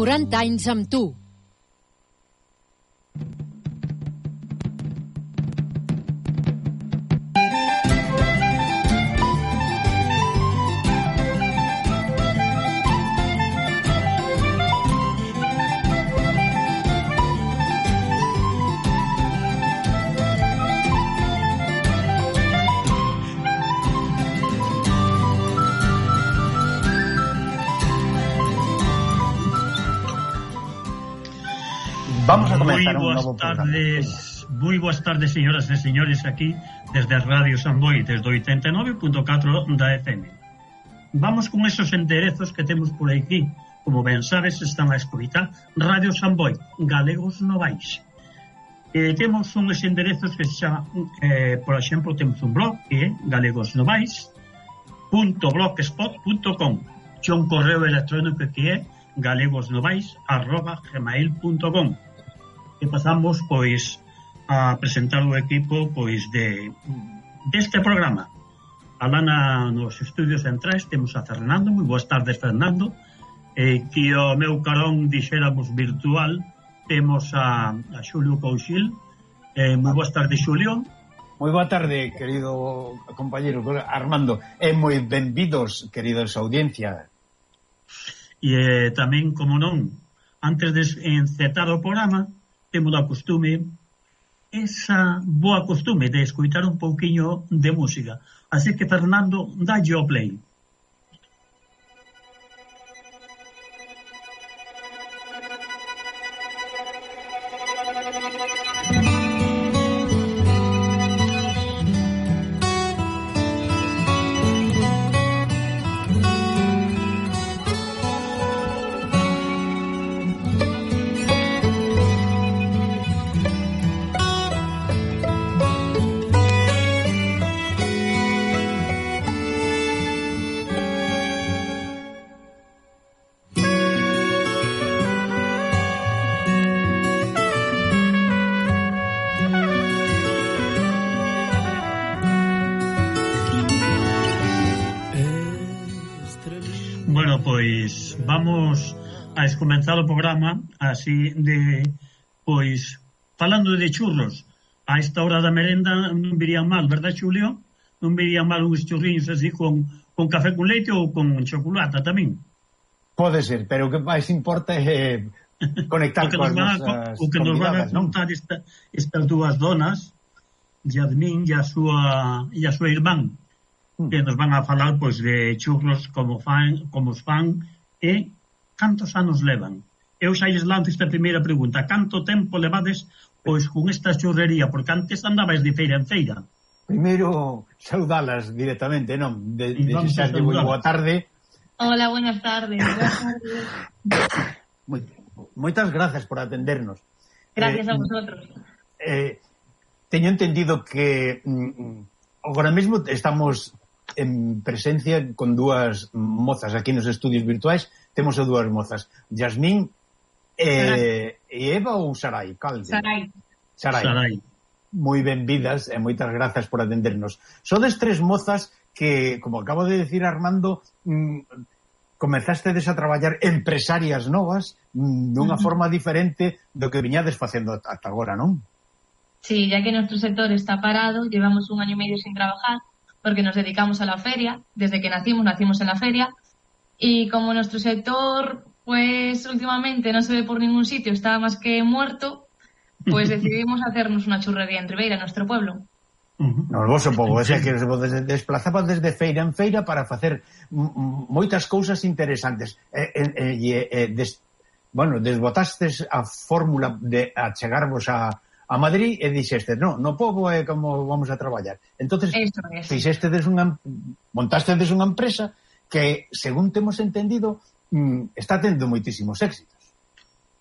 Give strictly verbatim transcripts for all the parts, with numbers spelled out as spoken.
quaranta anys amb tu. Vamos a comenzar un novo tardes, moi boas tardes, señoras e señores, aquí desde Radio Samboy, desde oitenta e nove punto catro da F M. Vamos con esos enderezos que temos por aquí. Como ben sabes, están a escoitar Radio Samboy, Galegos Novais. Eh, temos uns enderezos que se chama, eh, por exemplo, temos un blog que é galegosnovais punto blogspot punto com, e un correo electrónico que é galegosnovais arroba gmail punto com. E pasamos, pois, a presentar o equipo, pois, de deste programa. Alá na, nos estudios centrais temos a Fernando. Moi boas tardes, Fernando. Eh, que o meu carón, dixéramos, virtual, temos a, a Xulio Couchil. Eh, moi boas tardes, Xulio. Moi boa tarde, querido compañero Armando. E moi benvidos, queridos audiencia. E eh, tamén, como non, antes de encetar o programa, temos a costume, esa boa costume de escoitar un pouquiño de música. Así que, Fernando, dalle o play. Vamos a comenzar o programa así de, pois, falando de churros. A esta hora da merenda non virían mal, verdad, Xulio? Non virían mal uns churriños así con, con café con leite ou con chocolate tamén. Pode ser, pero o que máis importa é conectar con as nosas o que nos van a contar esta, estas dúas donas, Yadmin e a súa e a súa irmán, mm. que nos van a falar, pois, de churros como fan, como os fan. E cantos anos levan? Eu xa lles lanzo esta primeira pregunta. Canto tempo levades, pois, con esta churrería? Porque antes andabais de feira en feira. Primeiro, saudalas directamente, non? De, de xixarlle moi boa tarde. Hola, buenas tardes. Buenas tardes. Moi, moitas gracias por atendernos. Gracias eh, a vosotros. Eh, teño entendido que mm, agora mesmo estamos en presencia con dúas mozas aquí nos estudios virtuais. Temos a dúas mozas, Yasmín e, e Eva ou Sarai? Calde? Sarai. Sarai. Sarai. Moi benvidas e moitas grazas por atendernos. Sodes tres mozas que, como acabo de decir Armando, mmm, comezastedes a traballar empresarias novas mmm, dunha uh-huh. forma diferente do que viñades facendo ata agora, non? Sí, ya que nuestro sector está parado, llevamos un año y medio sin trabajar, porque nos dedicamos a la feria. Desde que nacimos, nacimos en la feria, y como nuestro sector, pues últimamente no se ve por ningún sitio, está más que muerto, pues decidimos hacernos una churrería en Ribeira, nuestro pueblo. No voso povo, é que se desplazaban desde feira en feira para facer moitas cousas interesantes. E, e, e, des, bueno, desbotastes a fórmula de achegarvos a a Madrid e dixeste, no, no povo é como vamos a traballar. Entonces, fixestes unha, montastedes unha empresa que, según temos entendido, mmm, está tendo moitísimos éxitos.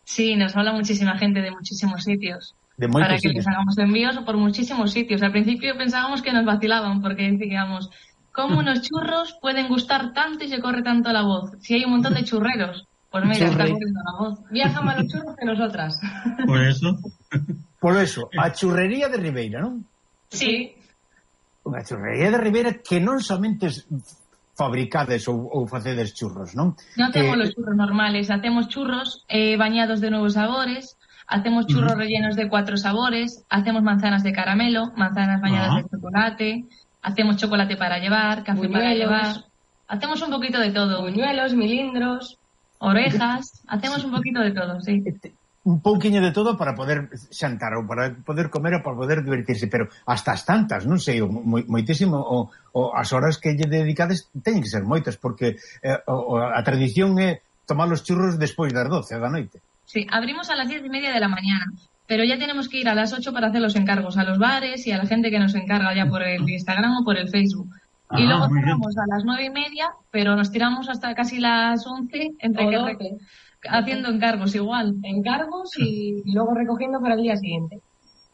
Sí, nos habla muchísima gente de muchísimos sitios. De para que sitios. les hagamos envíos por muchísimos sitios. Al principio pensábamos que nos vacilaban, porque decíamos, ¿cómo unos churros pueden gustar tanto y se corre tanto la voz? Si hay un montón de churreros. Pues mira, está corriendo la voz. Viajan más los churros que nosotras. Por eso. Por eso, a churrería de Ribeira, non? Sí. Unha churrería de Ribeira que non somente fabricades ou, ou facedes churros, non? Non temos Eh, los churros normales, hacemos churros eh, bañados de nuevos sabores, hacemos churros uh-huh. rellenos de cuatro sabores, hacemos manzanas de caramelo, manzanas bañadas uh-huh. de chocolate, hacemos chocolate para llevar, café Buñuelos. Para llevar, hacemos un poquito de todo. Buñuelos, milindros, orejas, hacemos un poquito de todo, sí. Un pouquiño de todo para poder xantar ou para poder comer ou para poder divertirse, pero hasta as tantas, non sei, moi, moitísimo, o, o as horas que lle dedicades teñen que ser moitas, porque eh, o, a tradición é tomar os churros despois das doce da noite. Sí, abrimos a las diez y media de la mañana, pero ya tenemos que ir a las ocho para hacer los encargos a los bares y a la gente que nos encarga ya por el Instagram o por el Facebook. Ah, y luego cerramos a las nueve y media, pero nos tiramos hasta casi las once entre que re- haciendo encargos igual. Encargos y luego recogiendo para el día siguiente.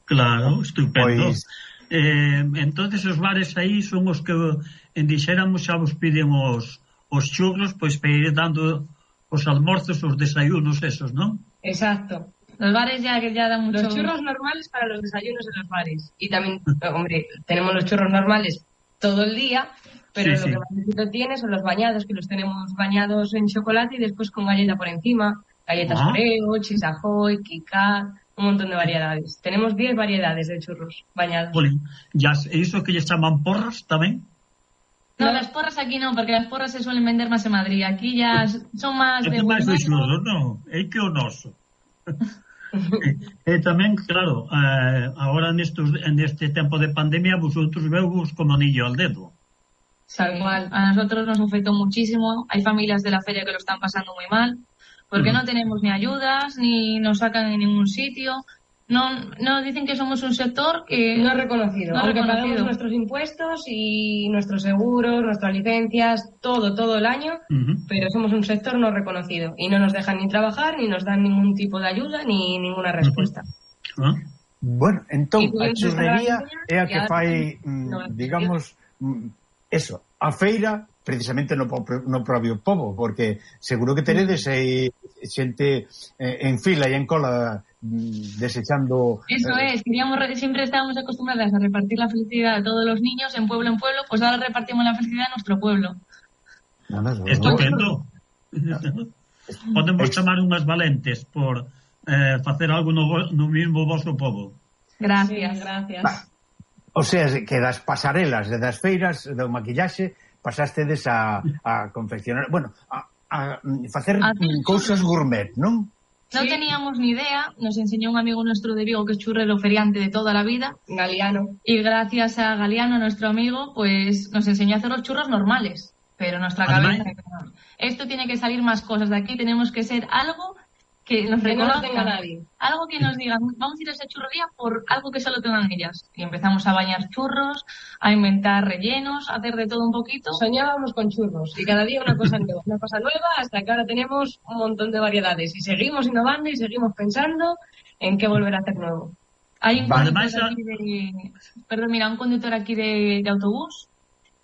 Claro, estupendo. Pues... Eh, entonces os bares aí son os que en dixéramos xa vos piden os, os churros, pois para ir dando os almorzos, os desayunos esos, ¿no? Exacto. Los bares ya, ya dan mucho... Los churros normales para los desayunos en los bares. Y también, hombre, tenemos los churros normales todo el día, pero sí, lo sí. que más éxito tiene son los bañados, que los tenemos bañados en chocolate y después con galleta por encima, galletas ah. Oreo, Chips Ahoy, Kit Kat, un montón de variedades. Tenemos diez variedades de churros bañados. Jolín, ya iso que les chaman porras tamén? No, no, las porras aquí no, porque las porras se suelen vender más en Madrid. Aquí ya son más de... É máis de churros, non? É que o noso. E tamén, claro, eh, agora nestos, neste tempo de pandemia vosotros veus como anillo al dedo. Tal cual, a nosotros nos afectó muchísimo. Hay familias de la feria que lo están pasando muy mal porque mm. no tenemos ni ayudas ni nos sacan en ningún sitio. No, no dicen que somos un sector que no reconocido, no aunque reconocido. Pagamos nuestros impuestos y nuestros seguros, nuestras licencias, todo, todo el año, uh-huh. pero somos un sector no reconocido y no nos dejan ni trabajar, ni nos dan ningún tipo de ayuda, ni ninguna respuesta. Uh-huh. Bueno, entón, a churrería é a que fai, mm, digamos, mm, eso, a feira, precisamente no, no propio pobo, porque seguro que teredes aí xente eh, en fila e en cola desechando... Eso eh, es, queríamos, siempre estábamos acostumbradas a repartir la felicidad a todos los niños en pueblo en pueblo, pues ahora repartimos la felicidad a nuestro pueblo. Estupendo. Podemos chamar unhas valentes por eh, facer algo no, no mismo vosso povo. Gracias, sí, gracias. Va. O sea, que das pasarelas, de das feiras, do maquillaxe, pasastedes a, a confeccionar, bueno, a, a facer a cousas gourmet, non? No sí. teníamos ni idea, nos enseñó un amigo nuestro de Vigo que es churrero feriante de toda la vida, Galiano, y gracias a Galiano, nuestro amigo, pues nos enseñó a hacer los churros normales, pero nuestra cabeza, esto tiene que salir más cosas de aquí, tenemos que ser algo que nos reconozca, no nadie. Algo que nos digan, vamos a ir a esa churrería por algo que solo tengan ellas. Y empezamos a bañar churros, a inventar rellenos, a hacer de todo un poquito. Soñábamos con churros y cada día una cosa nueva, una cosa nueva, hasta que ahora tenemos un montón de variedades y seguimos innovando y seguimos pensando en qué volver a hacer nuevo. Hay un vale, conductor aquí de, perdón, mira, un conductor aquí de, de autobús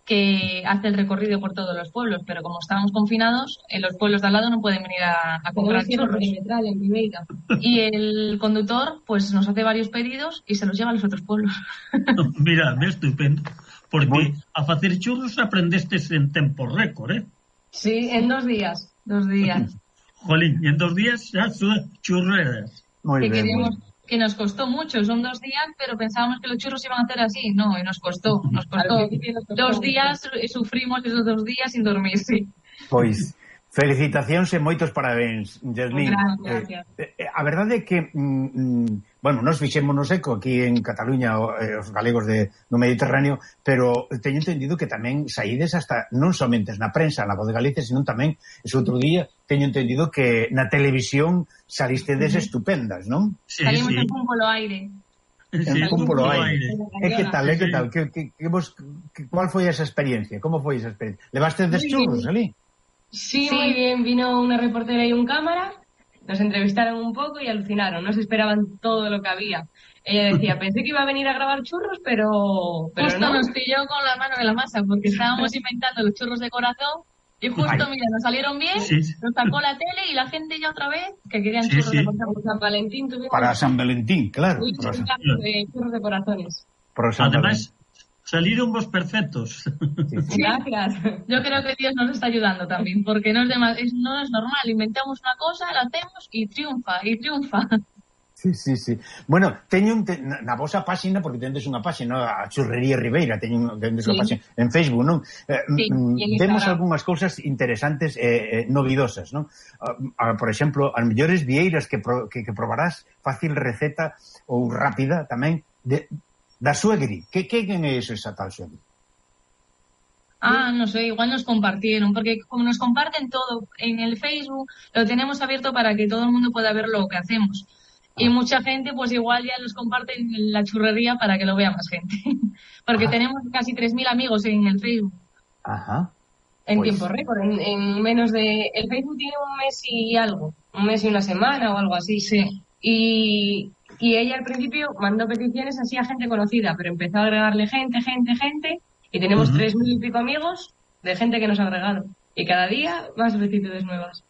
que hace el recorrido por todos los pueblos, pero como estábamos confinados, en los pueblos de al lado no pueden venir a, a comprar churros. En Viveira. Y el conductor pues nos hace varios pedidos y se los lleva a los otros pueblos. Mira, é estupendo, porque bueno, a facer churros aprendestes en tempo récord, eh? Sí, en dos días. Dos días. Jolín, y en dos días ya son churreras. Muy que bien, queríamos, muy bien. Que nos costó mucho, son dos días, pero pensábamos que los churros iban a hacer así, no, y nos costó, nos costó. Nos costó dos días, y sufrimos esos dos días sin dormir, sí. Pois, felicitacións e moitos parabéns, Yasmín. Gracias. Eh, eh, a verdade é que, mm, bueno, nos fixémonos eco aquí en Cataluña, eh, os galegos de, no Mediterráneo, pero teño entendido que tamén saídes hasta, non somente na prensa, na Voz de Galicia, senón tamén, ese outro día, teño entendido que na televisión salistedes uh-huh. estupendas, non? Sí, salimos sí. en un polo aire. En sí, un polo aire. E que tal, e que tal? Que, que, que vos, que, cual foi esa experiencia? Como foi esa experiencia? Levaste des churros ali? Sí, sí, muy bien. Vino una reportera y un cámara, nos entrevistaron un poco y alucinaron. No se esperaban todo lo que había. Ella decía, pensé que iba a venir a grabar churros, pero... pero justo no. Nos pilló con la mano en la masa, porque estábamos inventando los churros de corazón y justo, Ay. mira, nos salieron bien, sí, sí. nos sacó la tele y la gente ya otra vez que querían sí, churros sí. de corazón. Para San Valentín tuvimos... Para San Valentín, claro. Muchos San... de churros de corazones. Además, Salieron vos perfectos. Sí, sí. Gracias. Yo creo que Dios nos está ayudando también, porque no es, demás, es, no es normal. Inventamos una cosa, la hacemos y triunfa, y triunfa. Sí, sí, sí. Bueno, teño un, te, na, na vosa páxina, porque tendes unha páxina, a Churrería Ribeira, teño tendes sí. unha páxina en Facebook, non? Eh, sí, vemos algunhas cousas interesantes e eh, eh, novidosas, non? Uh, uh, por exemplo, as mellores vieiras que, pro, que, que probarás, fácil receta ou rápida tamén, de da suegri. Que, que é eso, esa tal suegri? Ah, no sé, igual nos compartieron, porque como nos comparten todo en el Facebook, lo tenemos abierto para que todo el mundo pueda ver lo que hacemos. Ah. Y mucha gente, pues igual ya nos comparten la churrería para que lo vea más gente. Porque ah. tenemos casi tres mil amigos en el Facebook. Ajá. En pues... tiempo récord, en, en menos de... El Facebook tiene un mes y algo, un mes y una semana o algo así. Sí. Y... Y ella al principio mandó peticiones así a gente conocida, pero empezó a agregarle gente, gente, gente, y tenemos uh-huh. tres mil y pico amigos de gente que nos ha agregado. Y cada día más solicitudes nuevas.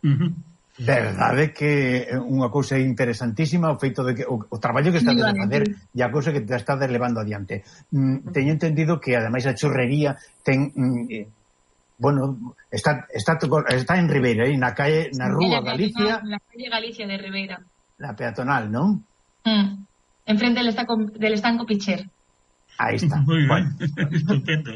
Uh-huh. Verdade que unha cousa interesantísima o feito de que o, o traballo que estás a facer e a cousa que te estás levando adiante. Mm, teño entendido que ademais a churrería ten... Mm, eh, bueno, está, está, está en Ribeira, eh, na calle, na rúa Galicia... Na calle Galicia de Ribeira. La peatonal, ¿no? Mm. Enfrente del estanco, del estanco Picher. Aí está. Muy bueno, bien, estupendo.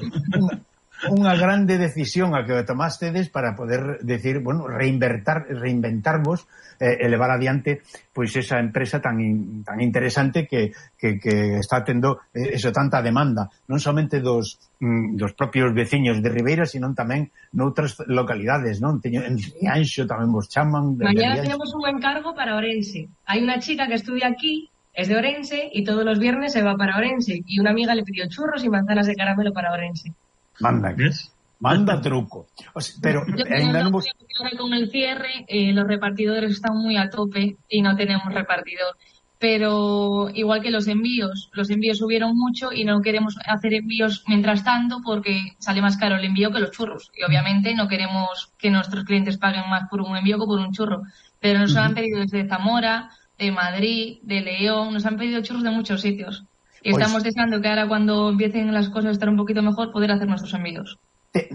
Unha grande decisión a que tomastedes para poder decir, bueno, reinventar, reinventarvos, eh, elevar adiante pois esa empresa tan in, tan interesante que, que, que está tendo eh, eso tanta demanda, non somente dos mm, dos propios veciños de Ribeira, sino tamén noutras localidades, non? Teño en Rianxo tamén vos chaman. Mañana tenemos un encargo para Orense. Hai unha chica que estudia aquí, es de Orense, y todos los viernes se va para Orense, y una amiga le pidió churros y manzanas de caramelo para Orense. Manda, ¿ves? Manda truco. O sea, pero ainda non vos... con el cierre, eh, los repartidores están muy a tope y no tenemos repartidor. Pero igual que los envíos, los envíos subieron mucho y no queremos hacer envíos mientras tanto porque sale más caro el envío que los churros. Y obviamente no queremos que nuestros clientes paguen más por un envío que por un churro. Pero nos uh-huh. han pedido desde Zamora, de Madrid, de León, nos han pedido churros de muchos sitios. Y pues, estamos deseando que ahora cuando empiecen las cosas a estar un poquito mejor, poder hacer nuestros envíos. Te,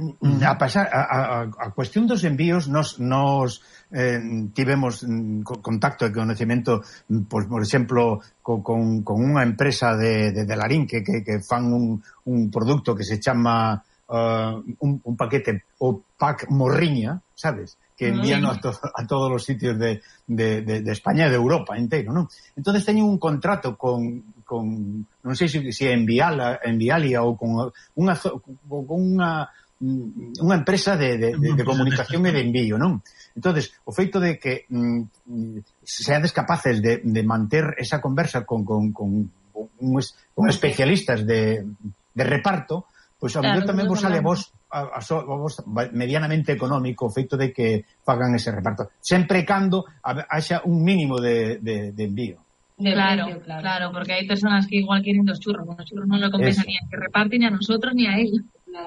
a pasar a, a, a cuestión dos envíos, nos, nos eh, tivemos contacto e conocimiento, pues, por exemplo, con, con, con unha empresa de, de, de Larín que, que, que fan un, un producto que se chama uh, un, un paquete, o pack morriña, sabes? Que envían a, to, a todos os sitios de, de, de, de España e de Europa inteiro, non? Entonces teñen un contrato con, con non sei se, se é Enviala, Envialia ou con unha con unha unha empresa de, de, de, de comunicación e de envío, non? Entonces, o feito de que mm, seades capaces de, de manter esa conversa con, con, con, con, uns, con especialistas de, de reparto, pois pues, a mellor claro, tamén vos sale a vos, a, a, a vos medianamente económico o feito de que fagan ese reparto. Sempre cando haxa un mínimo de, de, de envío. De claro, precio, claro, claro, porque hay personas que igual quieren dos churros, con los churros no lo compensan ni a que reparten ni a nosotros ni a ellos.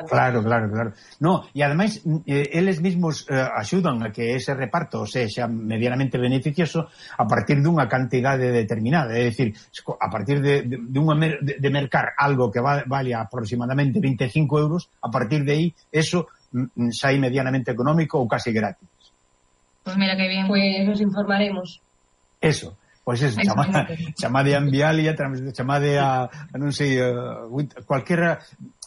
Claro, claro, claro. No, e ademais eh, eles mesmos eh, axudan a que ese reparto sexa medianamente beneficioso a partir dunha cantidade determinada, é dicir, a partir de, de, de, unha mer, de, de mercar algo que va, vale aproximadamente veinticinco euros, a partir de aí, eso mm, sai medianamente económico ou casi gratis. Pues mira que bien. Pues nos informaremos. Eso. Pois pues eso, chamade, chamade a Envialia, chamade a, a non sei, a, cualquiera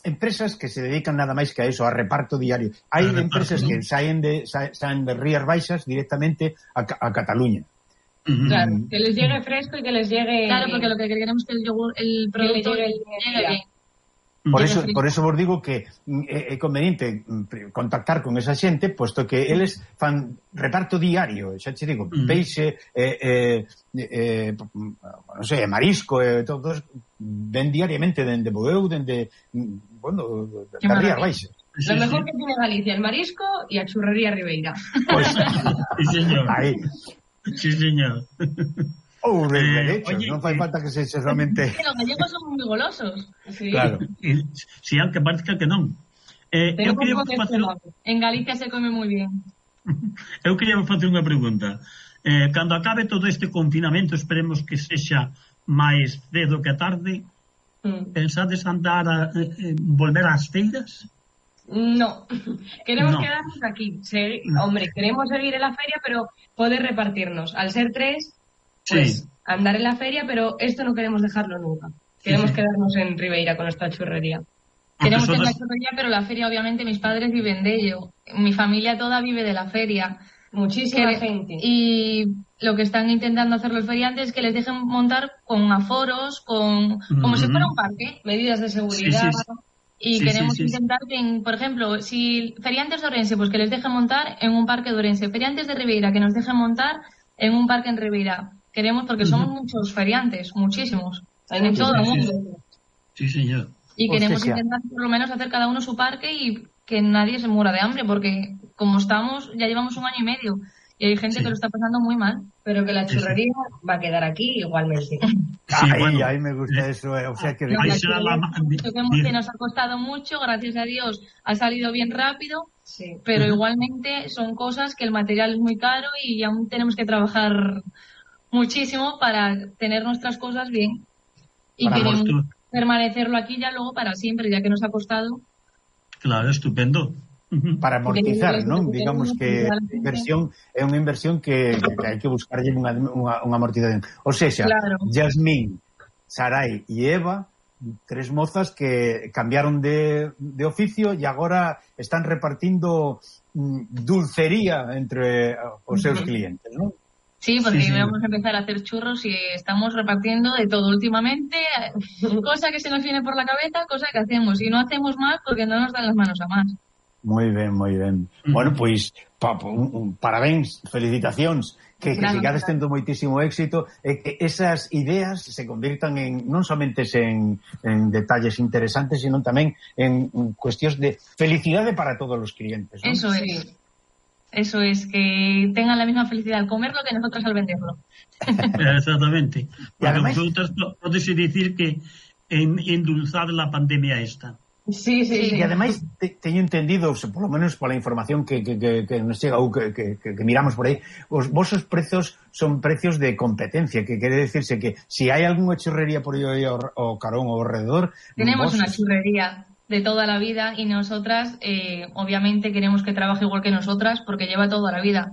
empresas que se dedican nada máis que a eso, a reparto diario. Hai empresas que saen de saen de Rías Baixas directamente a, a Cataluña. Claro, que les llegue fresco y que les llegue... Claro, porque lo que queremos es que el yogur, el producto llegue, llegue bien. Por eso, por eso vos digo que é, é conveniente contactar con esa xente, posto que eles fan reparto diario, xa te digo, mm. peixe, eh, eh, eh, non sei, marisco, eh, todos ven diariamente dende Boeu, dende, bueno, de Rías Baixas. Lo mejor que tiene Galicia, el marisco y a Churrería Ribeira. Pues, sí, señor. Ahí. Sí, señor. Ou de derecho, eh, non fai falta que se eche somente... Los gallegos son moi golosos. Sí. Claro. Si, aunque parezca que non. Eh, eu queria facer... En Galicia se come moi bien. Eu queria facer unha pregunta. Eh, cando acabe todo este confinamento, esperemos que sexa máis cedo que tarde, Mm. Pensades andar a eh, volver ás feiras? No, queremos no. quedarnos aquí. Se, hombre, queremos seguir en la feria, pero poder repartirnos. Al ser tres, pues sí. andar en la feria, pero esto no queremos dejarlo nunca. Queremos sí, sí. quedarnos en Ribeira con nuestra churrería. Queremos tener la churrería, pero la feria, obviamente, mis padres viven de ello. Mi familia toda vive de la feria. Muchísima que, gente. Y lo que están intentando hacer los feriantes es que les dejen montar con aforos, con como uh-huh. si fuera un parque. Medidas de seguridad. Sí, sí, sí. Y sí, queremos sí, sí, intentar que, en, por ejemplo, si feriantes de Ourense, pues que les dejen montar en un parque de Ourense. Feriantes de Ribeira, que nos dejen montar en un parque en Ribeira. Queremos, porque uh-huh. somos muchos feriantes, muchísimos. Hay en todo el mundo. Sí, señor. Y queremos intentar por lo menos hacer cada uno su parque y que nadie se muera de hambre, porque como estamos, ya llevamos un año y medio y hay gente sí. que lo está pasando muy mal. Pero que la churrería sí, sí. va a quedar aquí igualmente. Sí, ahí, bueno, ahí me gusta eso. Eh. O sea que, no, ahí será la... que nos ha costado mucho, gracias a Dios ha salido bien rápido, sí. pero uh-huh. igualmente son cosas que el material es muy caro y aún tenemos que trabajar muchísimo para tener nuestras cosas bien. Y para queremos tú. permanecerlo aquí ya luego para siempre, ya que nos ha costado. Claro, estupendo. Para amortizar, non? Digamos que a inversión é unha inversión que, que hai que buscarlle unha, unha, unha amortización. O sexa, claro. Yasmín, Sarai e Eva, tres mozas que cambiaron de, de oficio e agora están repartindo mm, dulcería entre os seus clientes, non? Sí, porque sí, sí. vamos a empezar a hacer churros y estamos repartiendo de todo últimamente, cosa que se nos viene por la cabeza, cosa que hacemos. Y no hacemos más porque no nos dan las manos a más. Moi ben, moi ben. Uh-huh. Bueno, pois, pa, un, un, parabéns, felicitacións, que, que sigades tendo moitísimo éxito, e que esas ideas se convirtan en, non somente en, en detalles interesantes, sino tamén en, en cuestións de felicidade para todos os clientes, ¿no? Eso es. Eso es, que tengan la misma felicidad al comerlo que nosotros al venderlo. Exactamente. Porque además, vosotros podéis decir que en, endulzar la pandemia esta. Sí, sí, sí. E ademais te, teño entendido, por lo menos pola información que, que, que, que nos chega ou que, que, que miramos por aí, os vosos prezos son precios de competencia, que quere decirse que se si hai algunha churrería por aí ao, ao carón ou ao redor... Tenemos vos... unha churrería de toda la vida y nosotras eh, obviamente queremos que trabaje igual que nosotras porque lleva toda la vida.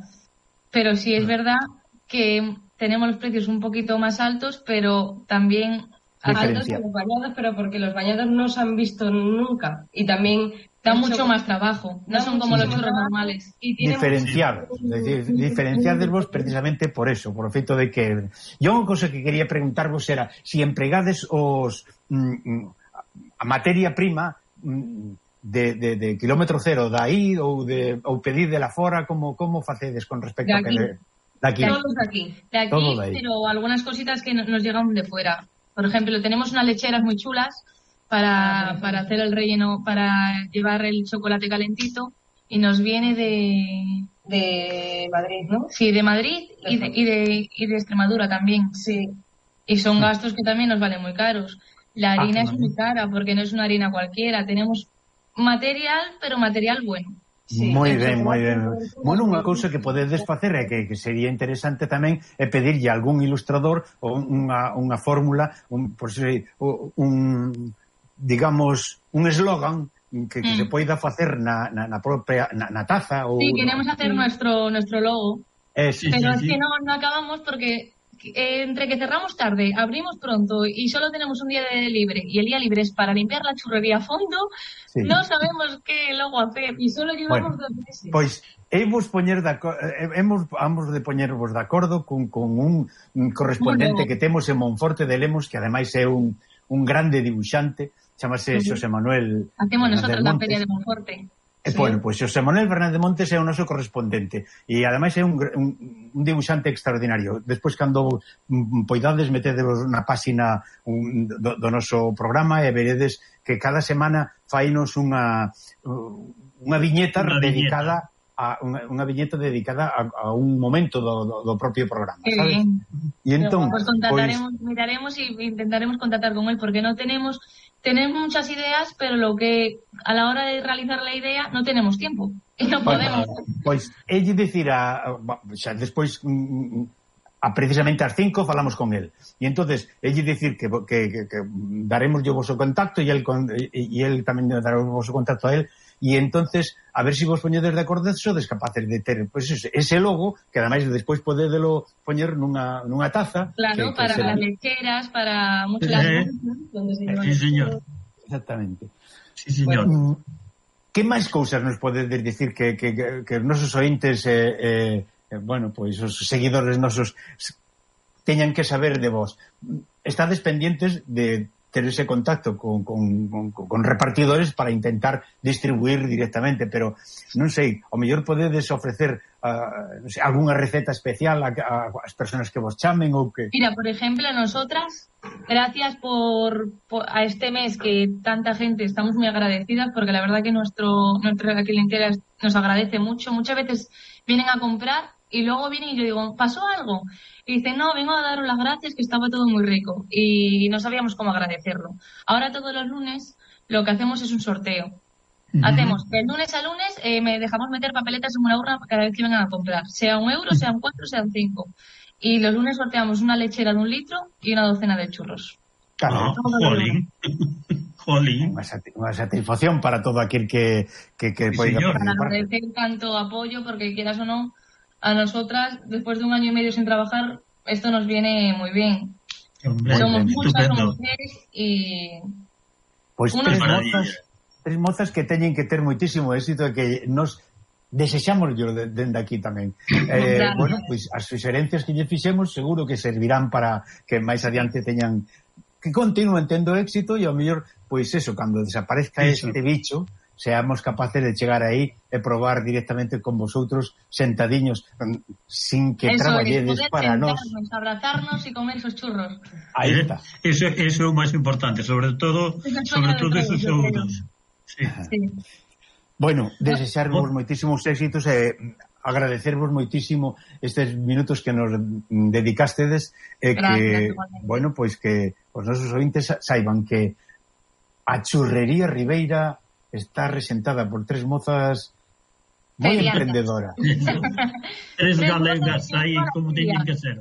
Pero sí es verdad que tenemos los precios un poquito más altos, pero también... altos que los bañados, pero porque los bañados no se han visto nunca y también da mucho más trabajo, no son como los churros normales. Y diferenciados, es decir, diferenciados precisamente por eso, por o feito de que yo unha cosa que quería preguntarvos era si empregades os mm, a materia prima mm, de, de, de kilómetro cero da aí ou de ou pedir de la fora, como como facedes con respecto a que de, de aquí. Todos de aquí, de aquí, de pero algunas cositas que nos llegan de fuera. Por ejemplo, tenemos unas lecheras muy chulas para, para hacer el relleno, para llevar el chocolate calentito y nos viene de... De Madrid, ¿no? Sí, de Madrid y de, y de, y de Extremadura también. Sí. Y son gastos que también nos valen muy caros. La harina ah, es muy cara porque no es una harina cualquiera. Tenemos material, pero material bueno. Sí, moi ben, moi ben. Bueno, unha cousa que podedes facer é que, que sería interesante tamén é pedirlle a algún ilustrador ou unha, unha fórmula, un, por si, un, digamos, un eslogan que, que mm. se poida facer na, na, na propia na, na taza. Ou, sí, queremos hacer nuestro, nuestro logo, eh, sí, pero sí, es sí. que no, no acabamos porque... Eh, entre que cerramos tarde, abrimos pronto y solo tenemos un día de libre y el día libre es para limpiar la churrería a fondo, sí. no sabemos qué logo hacer y solo llevamos bueno, dos meses. Pois hemos poñer de hemos ambos de poñervos de acordo con, con un, un correspondente bueno. que temos en Monforte de Lemos, que ademais é un, un grande dibuixante, chamase uh-huh. Xosé Manuel. Hacemos nosotros la feria de Monforte. Sí. Bueno, pois pues, Xosé Manuel Fernández Montes é o noso correspondente e ademais é un, un, un dibuixante extraordinario. Despois, cando poidades, metedevos na páxina un, do, do noso programa e veredes que cada semana fainos unha unha viñeta unha dedicada viñeta. a unha, unha viñeta dedicada a, a un momento do, do, do propio programa, sí. sabes? E entón, pues contrataremos, pues... miraremos e intentaremos contactar con él porque no tenemos Tenemos muchas ideas, pero lo que a la hora de realizar la idea no tenemos tiempo y no podemos. Pois, pues, elle dicir a, xa despois a precisamente ás cinco falamos con el. E entonces, elle dicir que, que, que, que daremos o vosso contacto e el, e el tamén dará o vosso contacto a el, e entonces a ver se si vos poñedes de acordo sodes capaces de ter pues, ese, ese logo, que ademais despois podedelo poñer nunha, nunha taza. Claro, que, para que las lecheras, para muchas eh, cosas donde se llevan. Sí, señor. Exactamente. Sí, señor. Bueno, que máis cousas nos podedes dicir que, que, que, que os nosos ointes eh, eh, bueno, pois os seguidores nosos teñan que saber de vos? Estades pendientes de ter ese contacto con, con, con, con repartidores para intentar distribuir directamente, pero non sei, ao mellor podedes ofrecer uh, non sei, algunha receta especial a, a, a as personas que vos chamen ou que... Mira, por ejemplo, nosotras, gracias por, por a este mes que tanta gente estamos muy agradecidas, porque la verdad que nuestro nuestra clientela nos agradece mucho. Muchas veces vienen a comprar y luego vienen y yo digo, ¿pasó algo? Y dicen, no, vengo a daros las gracias, que estaba todo muy rico. Y no sabíamos cómo agradecerlo. Ahora todos los lunes lo que hacemos es un sorteo. Uh-huh. Hacemos, de lunes a lunes, eh, me dejamos meter papeletas en una urna cada vez que vengan a comprar. Sea un euro, sean cuatro, sean cinco. Y los lunes sorteamos una lechera de un litro y una docena de churros. Claro, oh, jolín. Jolín. Unha, sat unha satisfacción para todo aquel que, que, que Sí, poida señor. Para agradecer tanto apoyo, porque quieras o no, a nosotras, después de un año y medio sin trabajar, esto nos viene muy bien. Hombre, somos bien, muchas, estupendo. somos tres y... Pois Unos tres maravilla. mozas, tres mozas que teñen que ter moitísimo éxito e que nos desexamos yo de, dende aquí tamén. Eh, Gracias. bueno, pois as suxerencias que lle fixemos seguro que servirán para que máis adiante teñan que continúen tendo éxito e ao mellor, pois eso, cando desaparezca Eso. este bicho, seamos capaces de chegar aí e probar directamente con vosotros sentadiños sin que Eso, traballedes poder para nós. sentarnos, abrazarnos y comer esos churros. Aí Eh, está. Eso, eso é o máis importante, sobre todo, Eso é sobre sueño todo de esos todos, yo creo. segundos. Sí. Sí. Bueno, desexarvos Oh. moitísimos éxitos e agradecervos moitísimo estes minutos que nos dedicastedes e Gracias, que, igualmente. bueno, pois que os nosos ointes saiban que a churrería Ribeira está resentada por tres mozas moi Feriantas. emprendedoras, Tres Tres galegas cosas aí que como son teñen que ser.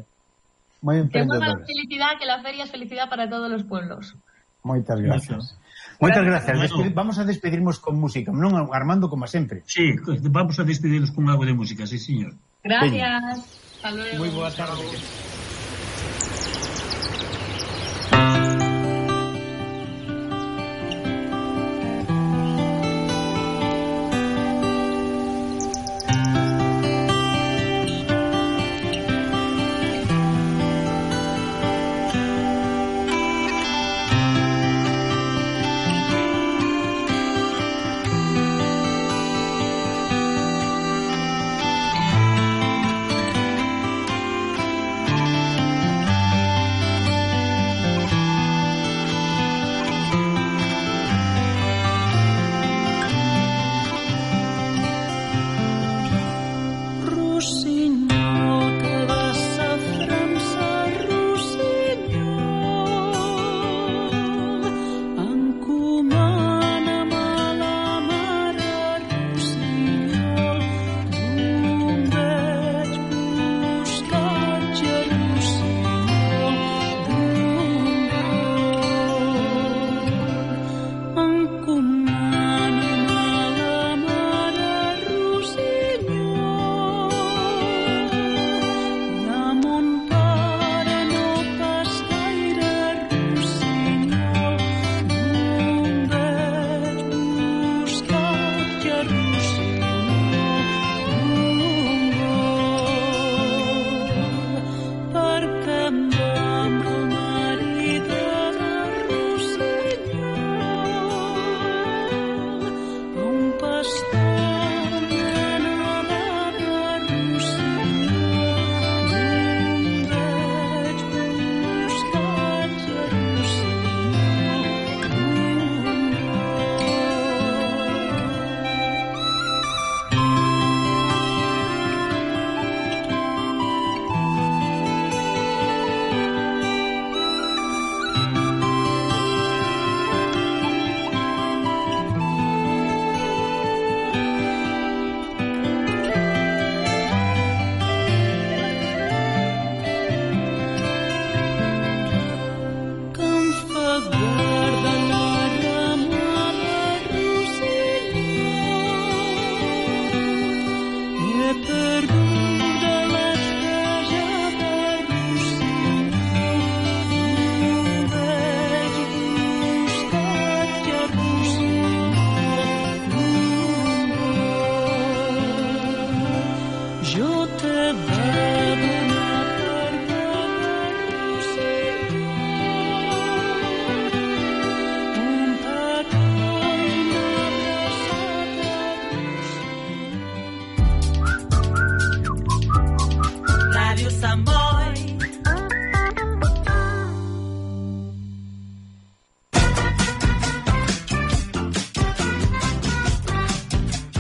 moi Que mueva emprendedoras. felicidad, que la feria es felicidad para todos los pueblos. Moitas gracias. Moitas gracias. Bueno. Despedi- vamos a despedirnos con música, non Armando como sempre. Sí, vamos a despedirnos con algo de música, sí, señor. Gracias. Hasta luego. Moi boa tarde. Thank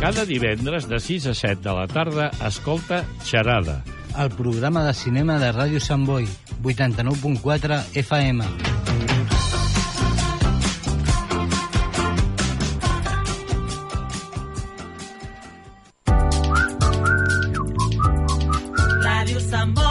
Cada divendres de sis a set de la tarda escolta Xerada, el programa de cinema de Ràdio Sant Boi, vuitanta-nou punt quatre F M. Ràdio Sant Boi.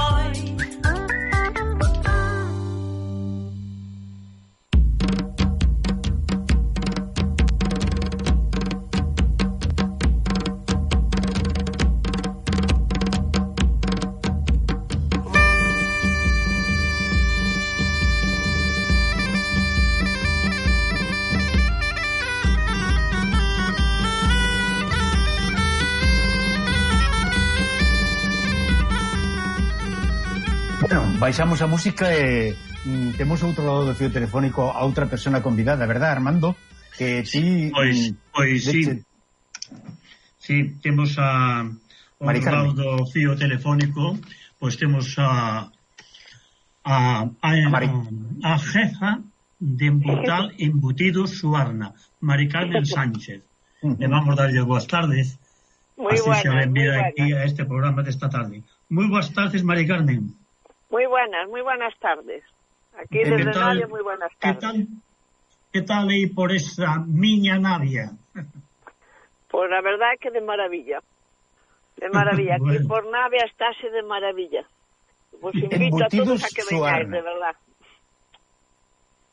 Baixamos a música e mm, temos outro lado do fío telefónico a outra persona convidada, verdad, Armando? Que ti... Pois, pois, sí. De... Sí, temos a ao lado do fío telefónico, pois temos a a, a, a, a jefa de Embutal Embutidos Suarna, Mari Carmen Sánchez. Uh-huh. Le vamos darlle boas tardes. Muy así buenas, se le envía muy aquí a este programa desta tarde. Moi boas tardes, Mari Carmen. Muy buenas, muy buenas tardes. Aquí desde Navia, muy buenas tardes. ¿Qué tal, qué tal aí por esa miña Navia? Pues la verdad que de maravilla. De maravilla. Aquí bueno. Por Navia estáse de maravilla. Pues invito a todos a que vengáis, de verdad.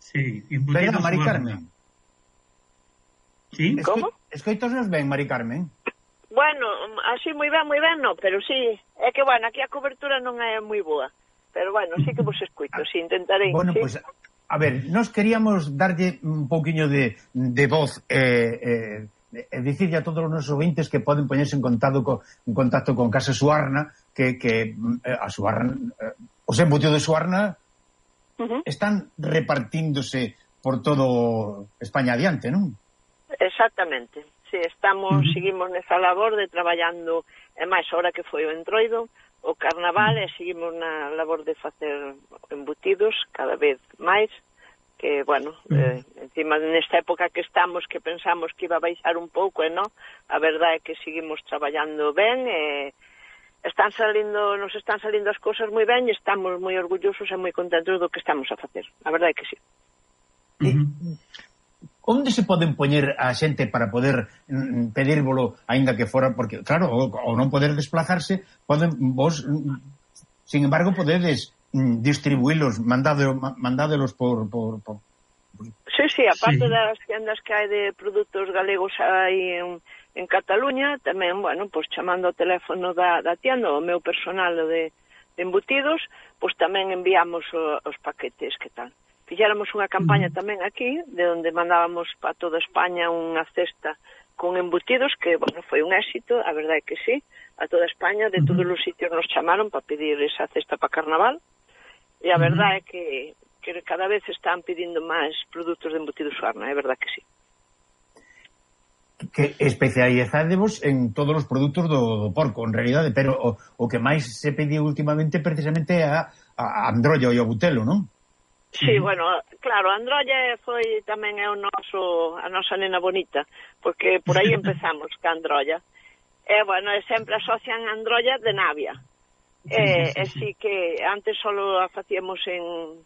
Sí, embutidos Venga, Mari Carmen. ¿Sí? ¿Cómo? Escoitos ben, Mari Carmen. Bueno, así moi ben, moi ben, no, pero sí. É que, bueno, aquí a cobertura non é moi boa. Pero bueno, sí que vos escuito, sí, intentarei. Bueno, ¿sí? Pues, a ver, nos queríamos darlle un pouquiño de, de voz e eh, eh, dicirle a todos os nosos ouvintes que poden poñerse en contacto co, en contacto con Casa Suarna, que, que eh, a Suarna, eh, os embutidos de Suarna uh-huh. están repartíndose por todo España adiante, non? Exactamente. Sí, estamos, uh-huh. seguimos nesa labor de traballando, e máis ahora que foi o entroido, o carnaval, e seguimos na labor de facer embutidos cada vez máis, que, bueno, eh, encima nesta época que estamos, que pensamos que iba a baixar un pouco, e non, a verdade é que seguimos traballando ben, e están salindo, nos están salindo as cousas moi ben, e estamos moi orgullosos e moi contentos do que estamos a facer, a verdade é que sí. Uh-huh. Onde se poden poñer a xente para poder mm, pedírvolo, aínda que fora, porque, claro, ao non poder desplazarse, poden vos, mm, sin embargo, podedes mm, distribuílos, mandado, mandádelos por, por, por... Sí, sí, aparte sí. das tiendas que hai de produtos galegos aí en, en Cataluña, tamén, bueno, pues chamando o teléfono da, da tienda, o meu personal de, de embutidos, pues tamén enviamos o, os paquetes, que tal. Fixéramos unha campaña tamén aquí, de onde mandábamos para toda España unha cesta con embutidos, que, bueno, foi un éxito, a verdade é que sí, a toda España, de todos os sitios nos chamaron para pedir esa cesta para carnaval, e a verdade é que, que cada vez están pedindo máis produtos de embutidos Suarna, é verdade que sí. Que especializádevos en todos os produtos do, do porco, en realidade, pero o, o que máis se pediu últimamente precisamente é a, a androlla e o butelo, non? Sí, bueno, claro, a androlla foi tamén é o noso, a nosa nena bonita, porque por aí empezamos ca androlla. E, bueno, sempre asocian a androlla de Navia. E, e sí que antes solo a facíamos en,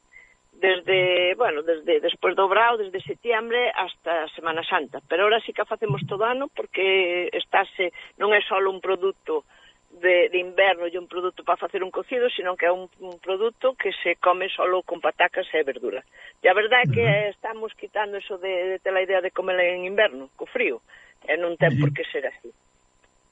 desde, bueno, desde despois do Brao, desde setiembre hasta Semana Santa. Pero ahora sí que a facemos todo ano, porque estáse, non é só un produto De, de inverno e un produto para facer un cocido, sino que é un, un produto que se come solo con patacas e verdura. E a verdade é que uh-huh. estamos quitando eso de, de ter a idea de comer en inverno, co frío, e non ten uh-huh. por que ser así.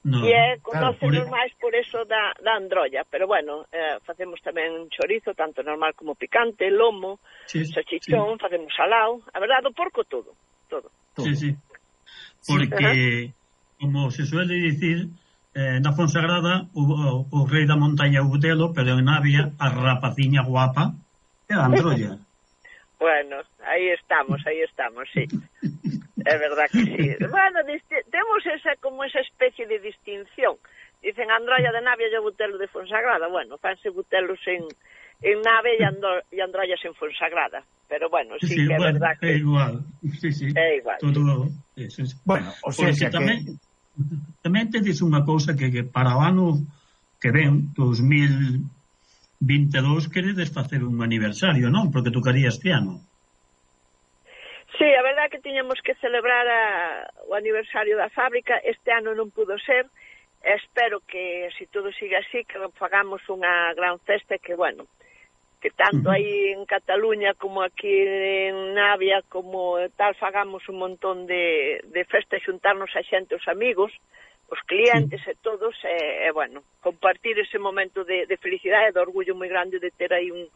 No, e é, conócenos claro, máis por eso da, da androlla, pero bueno, eh, facemos tamén un chorizo, tanto normal como picante, lomo, sí, salchichón, sí. Facemos salao, a verdade, do porco todo, todo. Sí, sí, porque, uh-huh. como se suele dicir, Eh, na Fonsagrada o, o, o rei da montaña o butelo, pero en Navia a rapaciña guapa é a androlla. Bueno, aí estamos, aí estamos, sí. É verdad que sí. Bueno, temos esa como esa especie de distinción. Dicen androlla de Navia e o butelo de Fonsagrada. Bueno, fanse butelos en, en Navia e, andro, e androllas en Fonsagrada. Pero bueno, sí, sí que é bueno, verdad que... É igual, sí, sí. É igual. Todo, sí, sí. Bueno, o sea, que... tamén... Tamén te dice unha cousa que, que para o ano que ven, dos mil vinte e dous, queredes facer un aniversario, non? Porque tocaría este ano. Sí, a verdade é que tiñamos que celebrar a, o aniversario da fábrica. Este ano non pudo ser. Espero que, se todo siga así, que fagamos unha gran festa, que, bueno, que tanto aí en Cataluña como aquí en Navia como tal, fagamos un montón de, de festa, xuntarnos a xente, os amigos, os clientes sí. e todos, e, e bueno, compartir ese momento de, de felicidade e de orgullo moi grande de ter aí un,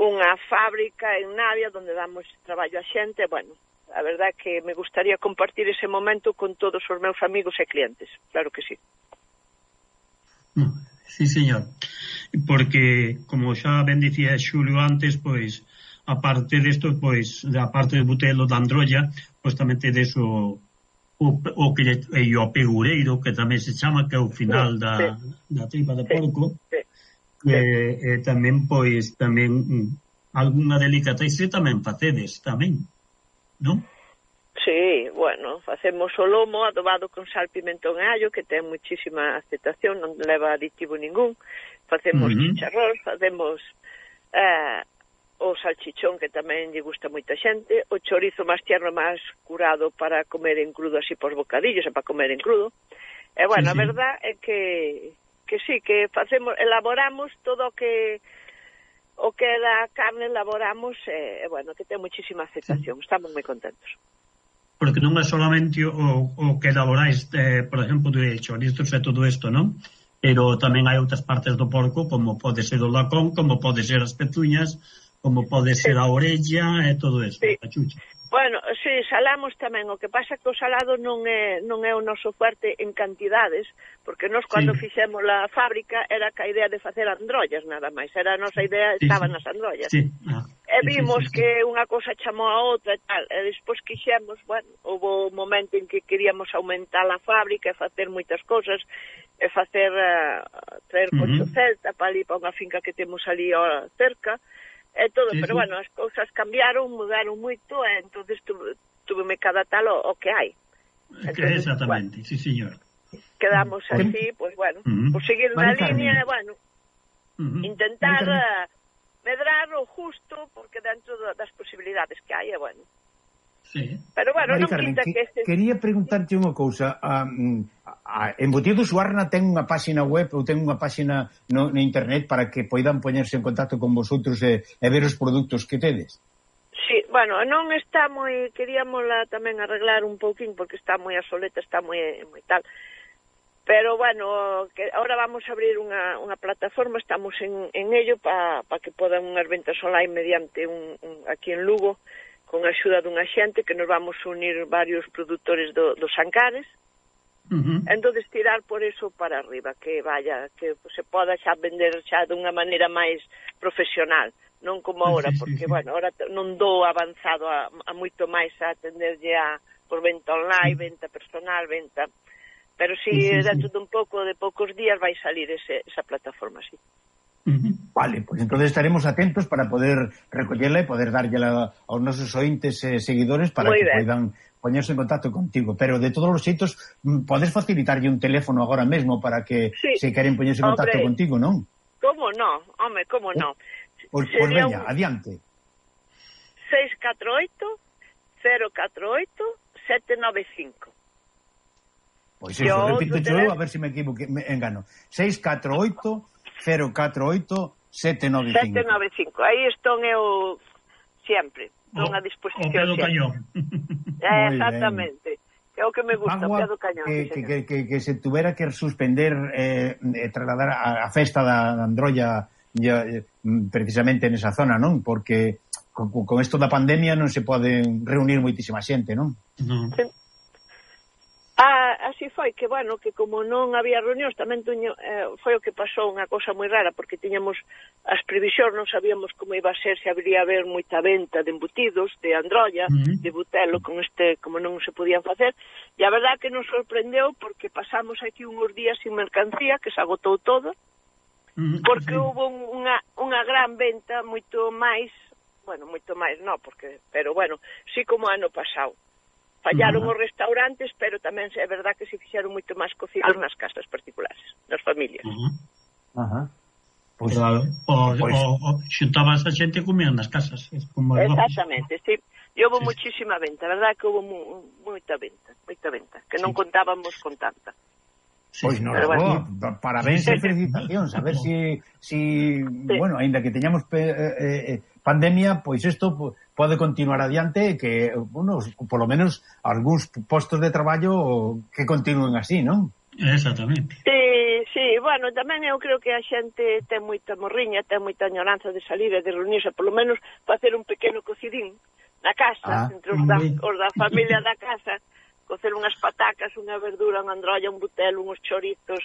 unha fábrica en Navia onde damos traballo a xente. E, bueno, a verdade é que me gustaría compartir ese momento con todos os meus amigos e clientes, claro que sí. Sí, señor, porque como xa ben dicía Xulio antes, pois aparte desto, pois da parte de Butelo da Androlla, pois tamén tedes o o, o que e o pegureiro, que tamén se chama, que é o final sí, da, sí. da tripa de porco, sí, sí. E, e tamén, pois, tamén algunha delicatese tamén facedes, tamén, non? Sí, bueno, facemos o lomo adobado con sal, pimentón e allo, que ten muchísima aceptación, non leva aditivo ningún. Facemos uh-huh. chicharrón, facemos eh, o salchichón, que tamén lle gusta moita xente, o chorizo máis tierno, máis curado para comer en crudo, así por bocadillos, e para comer en crudo. E, bueno, sí, sí. A verdad é que, que sí, que facemos, elaboramos todo o que o que da carne, elaboramos, e, e bueno, que ten muchísima aceptación. Sí. Estamos moi contentos. Porque non é solamente o, o que elaboráis, eh, por exemplo, de chorizos e todo isto, non? Pero tamén hai outras partes do porco, como pode ser o lacón, como pode ser as pezuñas, como pode ser sí. a orella e todo isto, sí. a chucha. Bueno, si, sí, salamos tamén. O que pasa é que o salado non é, non é o noso fuerte en cantidades, porque nós, cando sí. fixemos a fábrica, era que a idea de facer androllas, nada máis. Era a nosa idea, sí, estaban sí. nas androllas. Sí. Ah, e vimos sí, sí, sí. que unha cosa chamou a outra e tal. E despois quixemos, bueno, houve un momento en que queríamos aumentar a fábrica e facer moitas cosas, e facer, uh, traer uh-huh. cocho celta para ali, para unha finca que temos ali ó, cerca, e todo, sí, pero sí. bueno, as cousas cambiaron, mudaron moito, e entonces tuve, tuveme que adaptar o, o que hai. Entonces, exactamente, bueno, sí, señor. Quedamos uh-huh. así, pues bueno, uh-huh. por seguir na línea, bueno, uh-huh. intentar uh, medrar o justo, porque dentro das posibilidades que hai, é bueno. Sí. Pero bueno, Mari non Carmen, quita que, que este... quería preguntarte unha cousa. Um, a, Embutidos Suarna ten unha páxina web ou ten unha páxina no, no internet para que poidan poñerse en contacto con vosotros e, e ver os produtos que tedes? Sí, bueno, non está moi... Queríamosla tamén arreglar un pouquín, porque está moi asoleta, está moi, moi tal. Pero, bueno, que ahora vamos a abrir unha, unha plataforma, estamos en, en ello para pa que podan unhas ventas online mediante un, un, aquí en Lugo, con a axuda dunha xente que nos vamos unir varios produtores do, dos Ancares. Uh-huh. Entonces tirar por eso para arriba, que vaya, que se poda xa vender xa dunha maneira máis profesional, non como agora, sí, sí, porque, sí. bueno, agora non dou avanzado a, a moito máis a atenderlle a por venta online, venta personal, venta... Pero si sí, sí, dentro sí. de un pouco, de poucos días vai salir ese, esa plataforma, sí. Uh-huh. Vale, pues entonces estaremos atentos para poder recollerla e poder darlle aos nosos ointes e eh, seguidores para Muy que ben. Poidan poñerse en contacto contigo. Pero de todos os xeitos, podes facilitarlle un teléfono agora mesmo para que sí. se queren poñerse en contacto Hombre, contigo, non? Como non? Home, como non? Pois pues, pues veña, un... adiante. seis catro oito, cero catro oito, sete nove cinco. Pois pues eso, repito yo, a ver se si me equivoque, me engano. seis catro oito, cero catro oito, sete nove cinco. sete nove cinco. Aí estou eu sempre, estou a disposición. O pedo cañón. Eh, exactamente. É o que me gusta, o pedo cañón. Que, sí, que, que, que se tuvera que suspender eh, eh, trasladar a, a festa da, da Androlla ya, eh, precisamente nesa zona, non? Porque con, con esto da pandemia non se pode reunir moitísima xente, non? Non. Sí. Ah, así foi, que bueno, que como non había reunións, tamén tuño, eh, foi o que pasou unha cosa moi rara, porque tiñamos as previsións, non sabíamos como iba a ser, se habría haber moita venta de embutidos, de Androlla, uh-huh. de Butelo, con este, como non se podían facer, e a verdade que nos sorprendeu, porque pasamos aquí uns días sin mercancía, que se agotou todo, uh-huh. porque sí. hubo unha, unha gran venta, moito máis, bueno, moito máis non, porque, pero bueno, sí como ano pasado. fallaron Uh-huh. os restaurantes, pero tamén é verdad que se fixeron moito máis cocidos nas casas particulares, nas familias. Uh-huh. Ajá. Pois, Claro, o, pois- o, o xuntabas a xente e comían nas casas. Es como es lógico. Exactamente, sí. E houve Sí, sí. muchísima venta, a verdad que houve mu, moita venta, moita venta, que non contábamos con tanta. Sí, Pois sí. non, Pero bueno. bueno. Parabéns e felicitacións. A ver si, si bueno, aínda que teñamos pe, eh, eh, pandemia, pois isto po- pode continuar adiante e que, bueno, polo menos algúns postos de traballo que continúen así, non? Exactamente. Sí, sí, bueno, tamén eu creo que a xente ten moita morriña, ten moita añoranza de salir e de reunirse, polo menos facer un pequeno cocidín na casa, Ah, entre os da, moi. os da familia da casa, cocer unhas patacas, unha verdura, unha androlla, un butel, uns chorizos,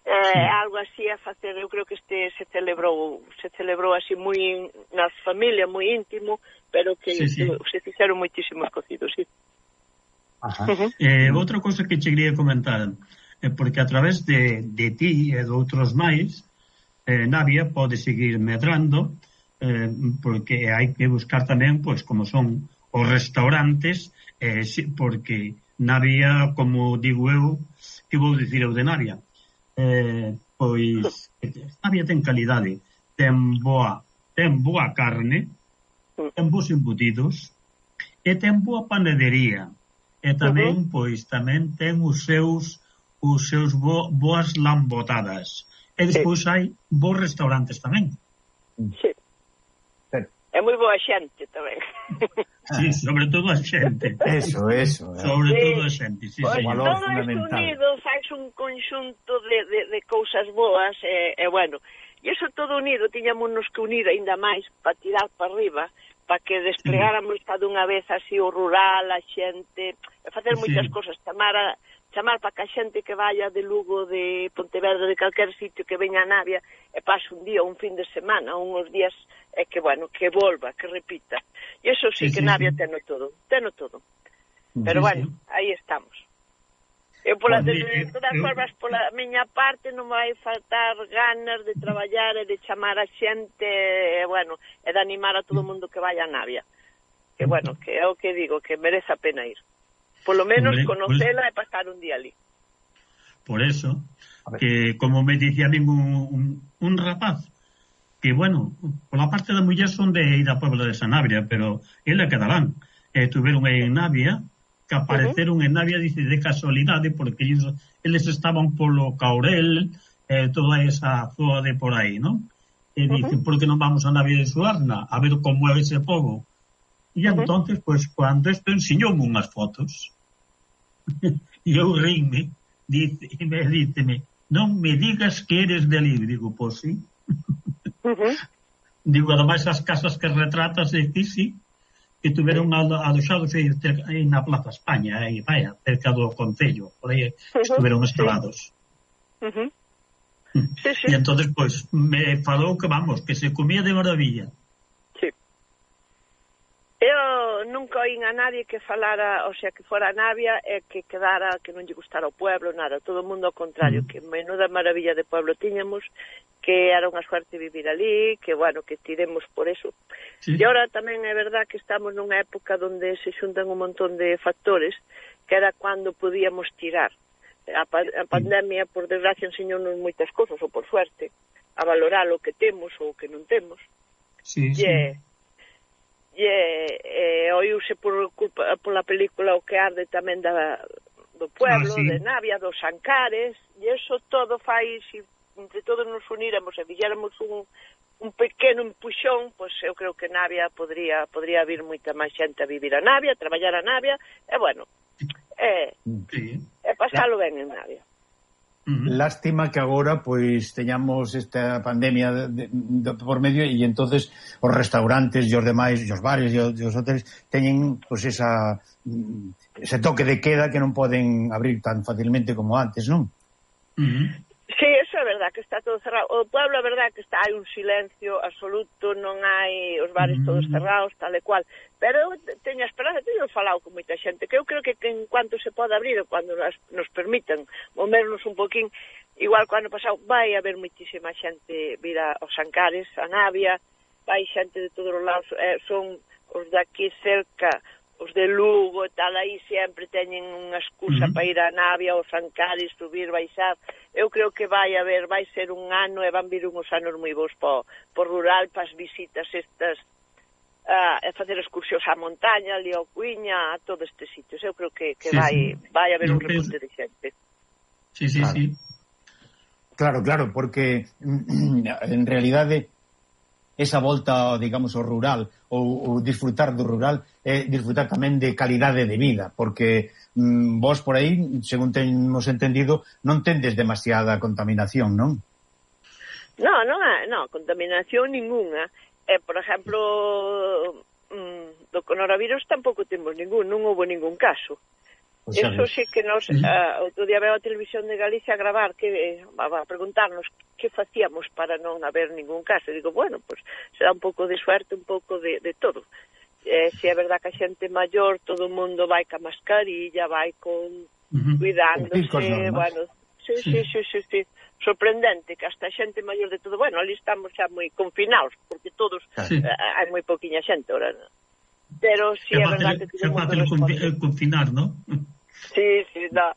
eh, Sí. algo así a facer. Eu creo que este se celebrou, se celebrou así moi na familia, moi íntimo, pero que, Sí, sí. que se fixeron moitísimos cocidos, sí. Ajá. Uh-huh. Eh, outra cousa que che quería comentar, eh, porque a través de, de ti e de outros máis, eh, Navia pode seguir medrando, eh, porque hai que buscar tamén, pois, como son os restaurantes, eh, si, porque Navia, como digo eu, que vou dicir eu de Navia, eh, pois Navia ten calidade, ten boa, ten boa carne, ten bons embutidos, e ten boa panadería, e tamén, pois, tamén ten os seus os seus bo, boas lambotadas. E despois hai bons restaurantes tamén. Sí. Pero- É moi boa xente tamén. Sí, sobre todo a xente. Eso, eso. Sobre Sí. todo a xente, sí, Pois señor. valor todo isto fundamental. unido faz un conxunto de, de, de cousas boas e, e bueno, e iso todo unido tiñámonos que unir aínda máis para tirar para arriba, para que desplegáramos cada unha vez así o rural, a xente, e facer Sí. moitas cousas, chamar a chamar para que a xente que vaya de Lugo, de Pontevedra, de calquer sitio que veña a Navia e pase un día, un fin de semana, unhos días, e que, bueno, que volva, que repita. E iso sí, Sí, que sí, Navia sí. teno todo, teno todo. Pero Sí, bueno, sí. aí estamos. Eu, pola, Pois, de, de eu- todas eu- formas, pola miña parte non vai faltar ganas de traballar e de chamar a xente, e, bueno, e de animar a todo o mundo que vaya a Navia. Que, bueno, que é o que digo, que merece a pena ir. Polo menos Hombre, conocela e pasar un día ali. Por eso, que como me dicía a mí un, un, un rapaz, que, bueno, pola parte da muller son de ir a Puebla de Sanabria, pero ele quedarán. Eh, tuveron aí en Navia, que apareceron en Navia, dice, de casualidade, porque eles, eles estaban polo Caurel, eh, toda esa zona de por aí, ¿no? E dice, por que non vamos a Navia de Suarna, a ver como é ese pobo? E entonces, pues, cuando esto enseñoume unhas fotos, e eu rime, dice, e me díceme, non me digas que eres de ali. Digo, pois sí. Uh-huh. Digo, ademais as casas que retratas aquí, sí, que tuveron aloxados aí na Plaza España, aí, vaya, cerca do Concello, por aí estuveron instalados. Uh-huh. Sí, sí. E entonces, pois, me falou que, vamos, que se comía de maravilla. Sí. Eu nunca oín a nadie que falara, o sea, que fora a Navia e que quedara, que non lle gustara o pueblo, nada, todo o mundo ao contrario, Mm. que menuda maravilla de pueblo tiñamos, que era unha suerte vivir ali, que, bueno, que tiremos por eso. Sí. E ahora tamén é verdad que estamos nunha época onde se xuntan un montón de factores, que era cando podíamos tirar. A, pa a pandemia, por desgracia, enseñounos moitas cousas, ou por suerte, a valorar o que temos ou o que non temos. Sí, sí. E, e, e oíuse por culpa, pola película O que arde tamén da, do pueblo, Ah, sí. de Navia, dos Ancares, e eso todo fai, se entre todos nos uníramos e fixéramos un, un pequeno empuxón, pois eu creo que Navia podría podría vir moita máis xente a vivir a Navia, a traballar a Navia, e bueno, e, Sí. e pasalo ben en Navia. Uh-huh. Lástima que agora pois teñamos esta pandemia de, de, de, por medio e entonces os restaurantes e os demais, e os bares e os, e os hoteles teñen pois esa ese toque de queda que non poden abrir tan facilmente como antes, non? Uh-huh. Sí, eso é verdad, que está todo cerrado. O pueblo é verdad que está, hai un silencio absoluto, non hai os bares todos cerrados, tal e cual. Pero eu teño a esperanza, teño falado con moita xente, que eu creo que, que en cuanto se pode abrir, ou cando nos, nos permitan movernos un poquín, igual que o ano pasado, vai haber moitísima xente vir aos Ancares, a Navia, vai xente de todos os lados, eh, son os daqui cerca, os de Lugo e tal, aí sempre teñen unha excusa uh -huh. para ir a Navia ou San Cádiz, subir, baixar. Eu creo que vai haber, vai ser un ano e van vir uns anos moi bons po, po rural, para as visitas estas, uh, e facer excursións á montaña, ali ao Cuiña, a todos estes sitios. Eu creo que, que sí, vai, sí. vai haber un repunte de xente. Sí, sí, claro. sí. Claro, claro, porque en realidade esa volta, digamos, ao rural ou, ou disfrutar do rural é disfrutar tamén de calidade de vida, porque mm, vos por aí, según temos entendido, non tendes demasiada contaminación, non? No, non é, no, contaminación ninguna. Eh, por exemplo, mm, do coronavirus tampouco temos ningún, non houve ningún caso. Pues eso sí que nos, uh, outro día veo a televisión de Galicia a gravar, que eh, a preguntarnos que facíamos para non haber ningún caso. E digo, bueno, pues será un pouco de suerte, un pouco de, de todo. Eh, si é verdad que a xente maior, todo o mundo vai ca mascarilla, vai con uh-huh. cuidándose, bueno, sí, sí, sí, sí, sí, sorprendente que hasta a xente maior de todo, bueno, ali estamos xa moi confinados, porque todos, sí. eh, hai moi poquinha xente, ahora, pero si sí, é verdad que todo o mundo responde. É fácil confinar, non? Sí, sí, no.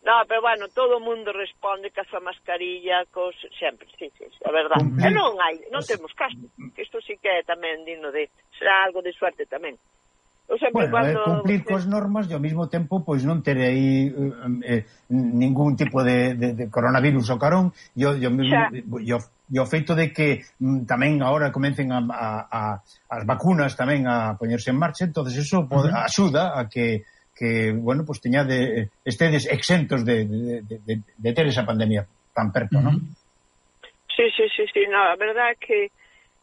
No, pero bueno, todo o mundo responde ca súa mascarilla, cos sempre, sí, sí, é verdade. Cumplir. E non hai, non temos caso, que isto sí que é tamén digno de, será algo de suerte tamén. Eu sempre bueno, cuando... eh, cumplir cos normas e ao mesmo tempo, pois non ter aí eh, ningún tipo de, de, de coronavirus ao carón, e o, o feito de que mm, tamén agora comencen a, a, a, as vacunas tamén a poñerse en marcha, entonces eso pode, uh-huh. axuda a que que, bueno, pues teña de, estedes exentos de, de, de, de ter esa pandemia tan perto, non? Sí, sí, sí, sí, no, a verdade é que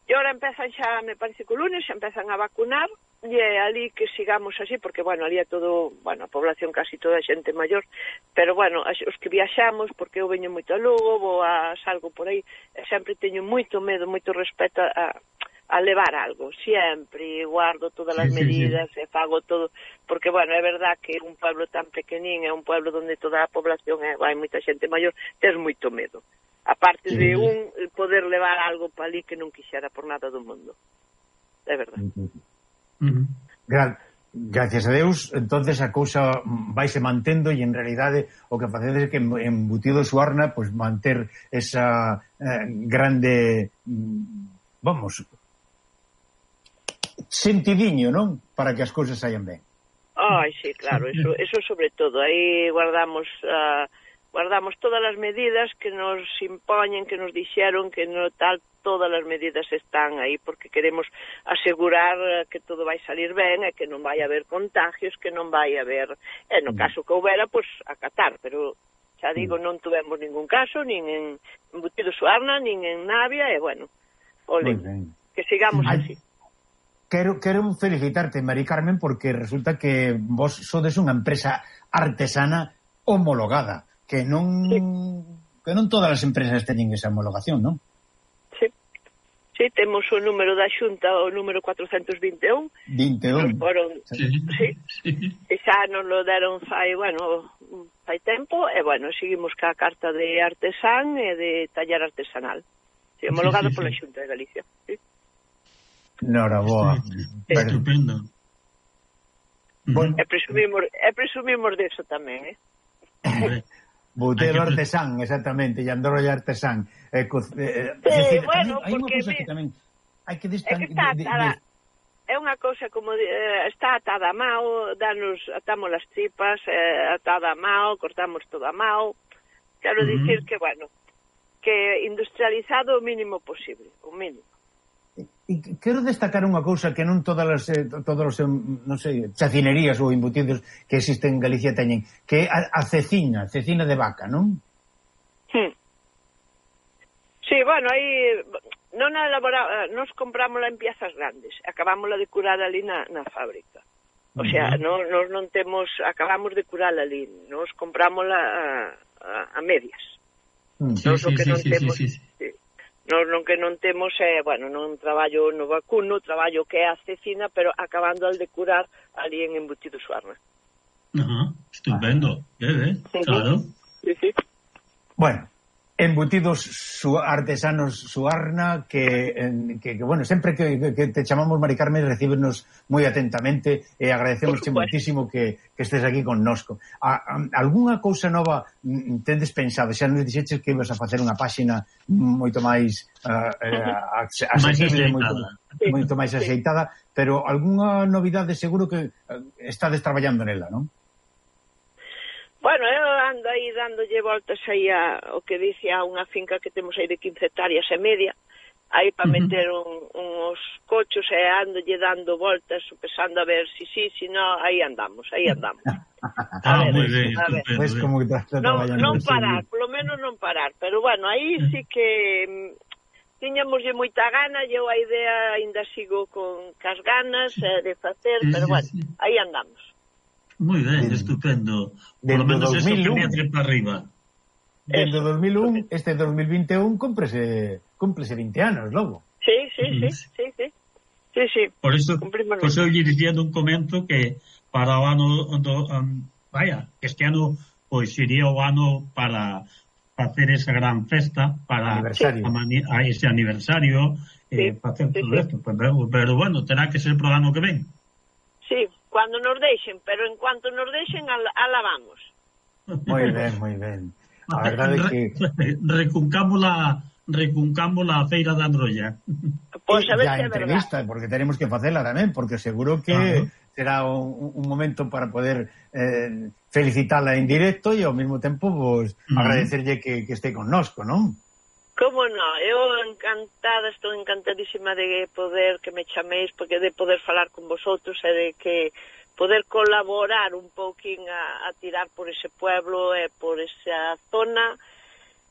e ahora empezan xa, me parece que o lunes xa empezan a vacunar e é ali que sigamos así, porque, bueno, ali é todo, bueno, a población casi toda xente maior, pero, bueno, os que viaxamos, porque eu veño moito a Lugo, vou a salgo por aí, sempre teño moito medo, moito respeto a a levar algo, sempre guardo todas as sí, medidas sí, sí. e fago todo, porque, bueno, é verdad que un pueblo tan pequenín é un pueblo onde toda a población é, hai moita xente maior, tes moito medo, aparte sí. de un poder levar algo para ali que non quixera por nada do mundo, é verdad. Uh-huh. Gra gracias a Deus, entonces a cousa vaise mantendo e en realidade o que facedes é que embutido Suarna, pois pues, manter esa eh, grande vamos sentidiño, non? Para que as cousas saian ben. Ai, sí, claro, eso, eso sobre todo. Aí guardamos uh, guardamos todas as medidas que nos impoñen, que nos dixeron que no tal, todas as medidas están aí porque queremos asegurar que todo vai salir ben e que non vai haber contagios, que non vai haber, e no caso que houbera, pois pues, acatar, pero xa digo, non tuvemos ningún caso, nin en Embutido Suarna, nin en Navia, e bueno, ole, que sigamos así. Quero, quero felicitarte, Mari Carmen, porque resulta que vos sodes unha empresa artesana homologada, que non sí. que non todas as empresas teñen esa homologación, non? Sí, sí, temos o número da Xunta, o número cuatrocentos vinte e un. vinte e un. Foron, sí. sí, e xa nos lo deron fai, bueno, fai tempo, e bueno, seguimos ca carta de artesán e de taller artesanal. Sí, homologado sí, sí, pola sí. Xunta de Galicia, sí. Noraboa. Pero... Estupendo. Bueno, e presumimos, e presumimos deso tamén, eh? Butero artesán, exactamente, e Androlla artesán. Eh, eh, sí, decir, bueno, hai porque... Hai unha cousa que tamén hai que distan... É que está atada, de, de... é unha cousa como de, eh, está atada a mao, danos, atamos as tripas, eh, atada a mao, cortamos todo a mao. Quero uh -huh. dicir que, bueno, que industrializado o mínimo posible, o mínimo. E quero destacar unha cousa que non todas as eh, todos os, non sei, chacinerías ou embutidos que existen en Galicia teñen, que é a, a cecina, cecina de vaca, non? Sí. Sí, bueno, aí non elaboramos, nos comprámola en piezas grandes, acabámola de curar ali na, na fábrica. O sea, uh -huh. non, nos non temos, acabamos de curala ali, nos comprámola a, a, a medias. Uh -huh. Nos sí, sí, que sí, non sí, temos, sí, sí. Sí. Nos non que non temos é, eh, bueno, non traballo no vacuno, traballo que é a cecina, pero acabando al de curar ali en Embutido Suarna. Ajá, estupendo, eh, eh, claro. Sí, sí. Bueno, en embutidos su, artesanos Suarna que, que, que bueno, sempre que, que te chamamos Mari Carmen recíbenos moi atentamente e agradecemos moitísimo que, que estés aquí connosco. A, a, algunha cousa nova tendes pensado? Xa nos dixeches que ibas a facer unha páxina moito máis uh, uh, accesible, moito, moito máis axeitada, pero algunha novidade seguro que uh, estades traballando nela, non? Bueno, eu ando aí dándolle voltas aí a, o que dice a unha finca que temos aí de quince hectáreas e media, aí para uh-huh. meter un, uns cochos e andolle dando voltas, pesando a ver si sí, si no, aí andamos, aí andamos. Ah, ver, moi ben, a ver. Pues como que estás traballando. Non, non parar, polo menos non parar, pero bueno, aí sí que tiñamoslle moita gana, eu a idea ainda sigo con cas ganas eh, de facer, pero bueno, aí andamos. Moi ben, estupendo. Por lo menos eso que me trepa arriba. Dende dos mil un, este dos mil vinte e un cúmprese, cúmprese vinte anos, logo. Sí, sí, sí, sí, sí. Sí, sí. Por eso, pois eu lle dicía nun comento que para o ano do, um, vaya, este ano pois iría o ano para facer esa gran festa para aniversario. A, a ese aniversario eh, sí, facer sí, todo sí. Esto, pero, pero bueno, terá que ser pro ano que ven. Sí, cuando nos deixen, pero en cuanto nos deixen, ala vamos. Moi ben, moi ben. A verdade é que... Recuncamos la, recuncamos la feira da Androlla. Pois a ver se é entrevista, verdad. Porque tenemos que facela tamén, porque seguro que uh-huh. será un, un momento para poder eh, felicitala en directo e ao mesmo tempo pues, uh-huh. agradecerlle que, que este connosco, non? Como non, eu encantada, estou encantadísima de poder que me chaméis, porque de poder falar con vosotros e de que poder colaborar un pouquín a, a tirar por ese pueblo e por esa zona,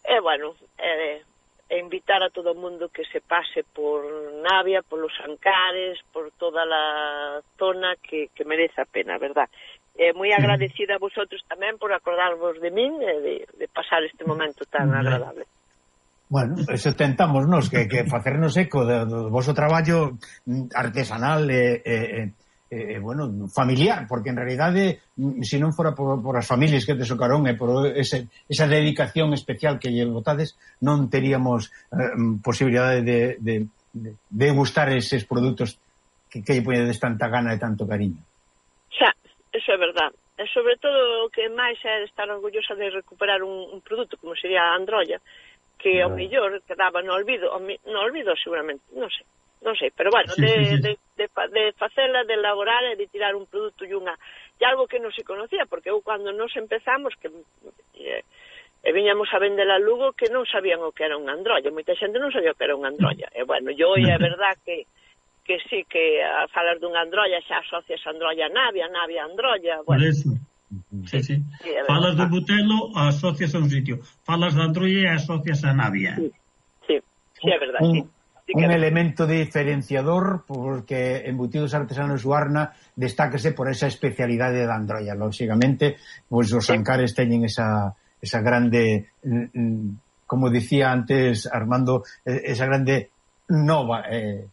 e bueno, e, e invitar a todo o mundo que se pase por Navia, por los Ancares, por toda a zona que, que merece a pena, verdad? E moi agradecida a vosotros tamén por acordarvos de min e de, de pasar este momento tan agradable. Bueno, eso tentamos nos que, que facernos eco do, do vosso traballo artesanal e, e, e, bueno, familiar, porque en realidade se non fora por, por as familias que te socaron e por ese, esa dedicación especial que lle botades, non teríamos eh, posibilidade de, de, de, de gustar eses produtos que, que lle poñedes tanta gana e tanto cariño. Xa, eso é verdad. E sobre todo o que máis é estar orgullosa de recuperar un, un produto como sería a Androlla, que ao mellor quedaba no olvido, no olvido seguramente, non sei, non sei, pero bueno, sí, de, sí, sí. de, de, de facela, de elaborar e de tirar un produto e unha, e algo que non se conocía, porque eu cando nos empezamos, que e, e viñamos a vender a Lugo, que non sabían o que era unha androlla, moita xente non sabía o que era unha androlla, e bueno, yo é verdad que que sí, que a falar dunha androlla xa asocias a androlla a Navia, Navia a androlla, bueno. Por eso. Sí, sí. Sí, falas do Butelo, asocias a un sitio. Falas da Androlla e asocias a Navia. Sí, sí, sí é verdad. Un, sí. Sí un que elemento diferenciador porque Embutidos Artesanos Suarna destáquese por esa especialidade da Androlla. Lógicamente, pois os Ancares teñen esa, esa grande, como dicía antes Armando, esa grande nova. Eh.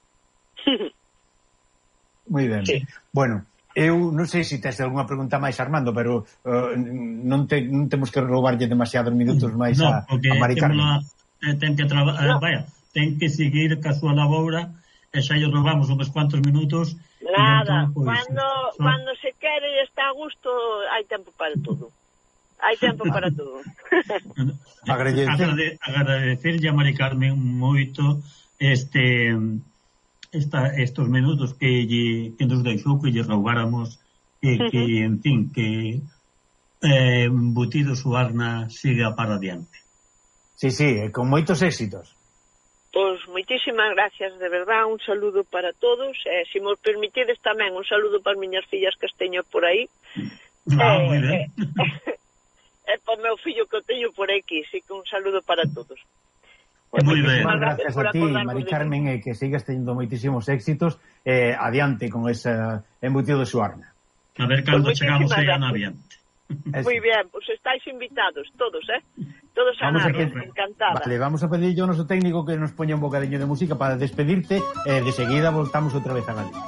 Moi ben. Sí. Bueno, eu non sei se tes algunha pregunta máis, Armando, pero uh, non, te, non temos que roubarlle demasiados minutos máis no, a, a Mari Carmen. Eh, ten que traba, no. eh, vaya, ten que seguir ca súa labora e xa lle roubamos uns cuantos minutos. Nada, entón, pues, cando, so... cando se quere e está a gusto, hai tempo para todo. Hai tempo para todo. Agrade, agradecerlle a Mari Carmen moito este... Esta, estos minutos que, lle, que nos deixou que lle roubáramos e que, uh-huh. en fin, que eh, Embutidos Suarna siga para adiante. Sí, sí, con moitos éxitos. Pois moitísimas gracias, de verdad, un saludo para todos, e se me permitides tamén un saludo para as miñas fillas que as teño por aí. Ah, eh, moi ben. E para o meu fillo que o teño por aquí, sí que un saludo para todos. Pues moi ben. Gracias a ti, Mari Carmen, e que sigas teniendo moitísimos éxitos eh, adiante con esa Embutido de Suarna. A ver cando pues chegamos aí a Navia. Moi ben, pois pues estáis invitados todos, eh? Todos a Navia, encantada. Vale, vamos a pedir yo ao noso técnico que nos poña un bocadiño de música para despedirte e eh, de seguida voltamos outra vez a Galicia.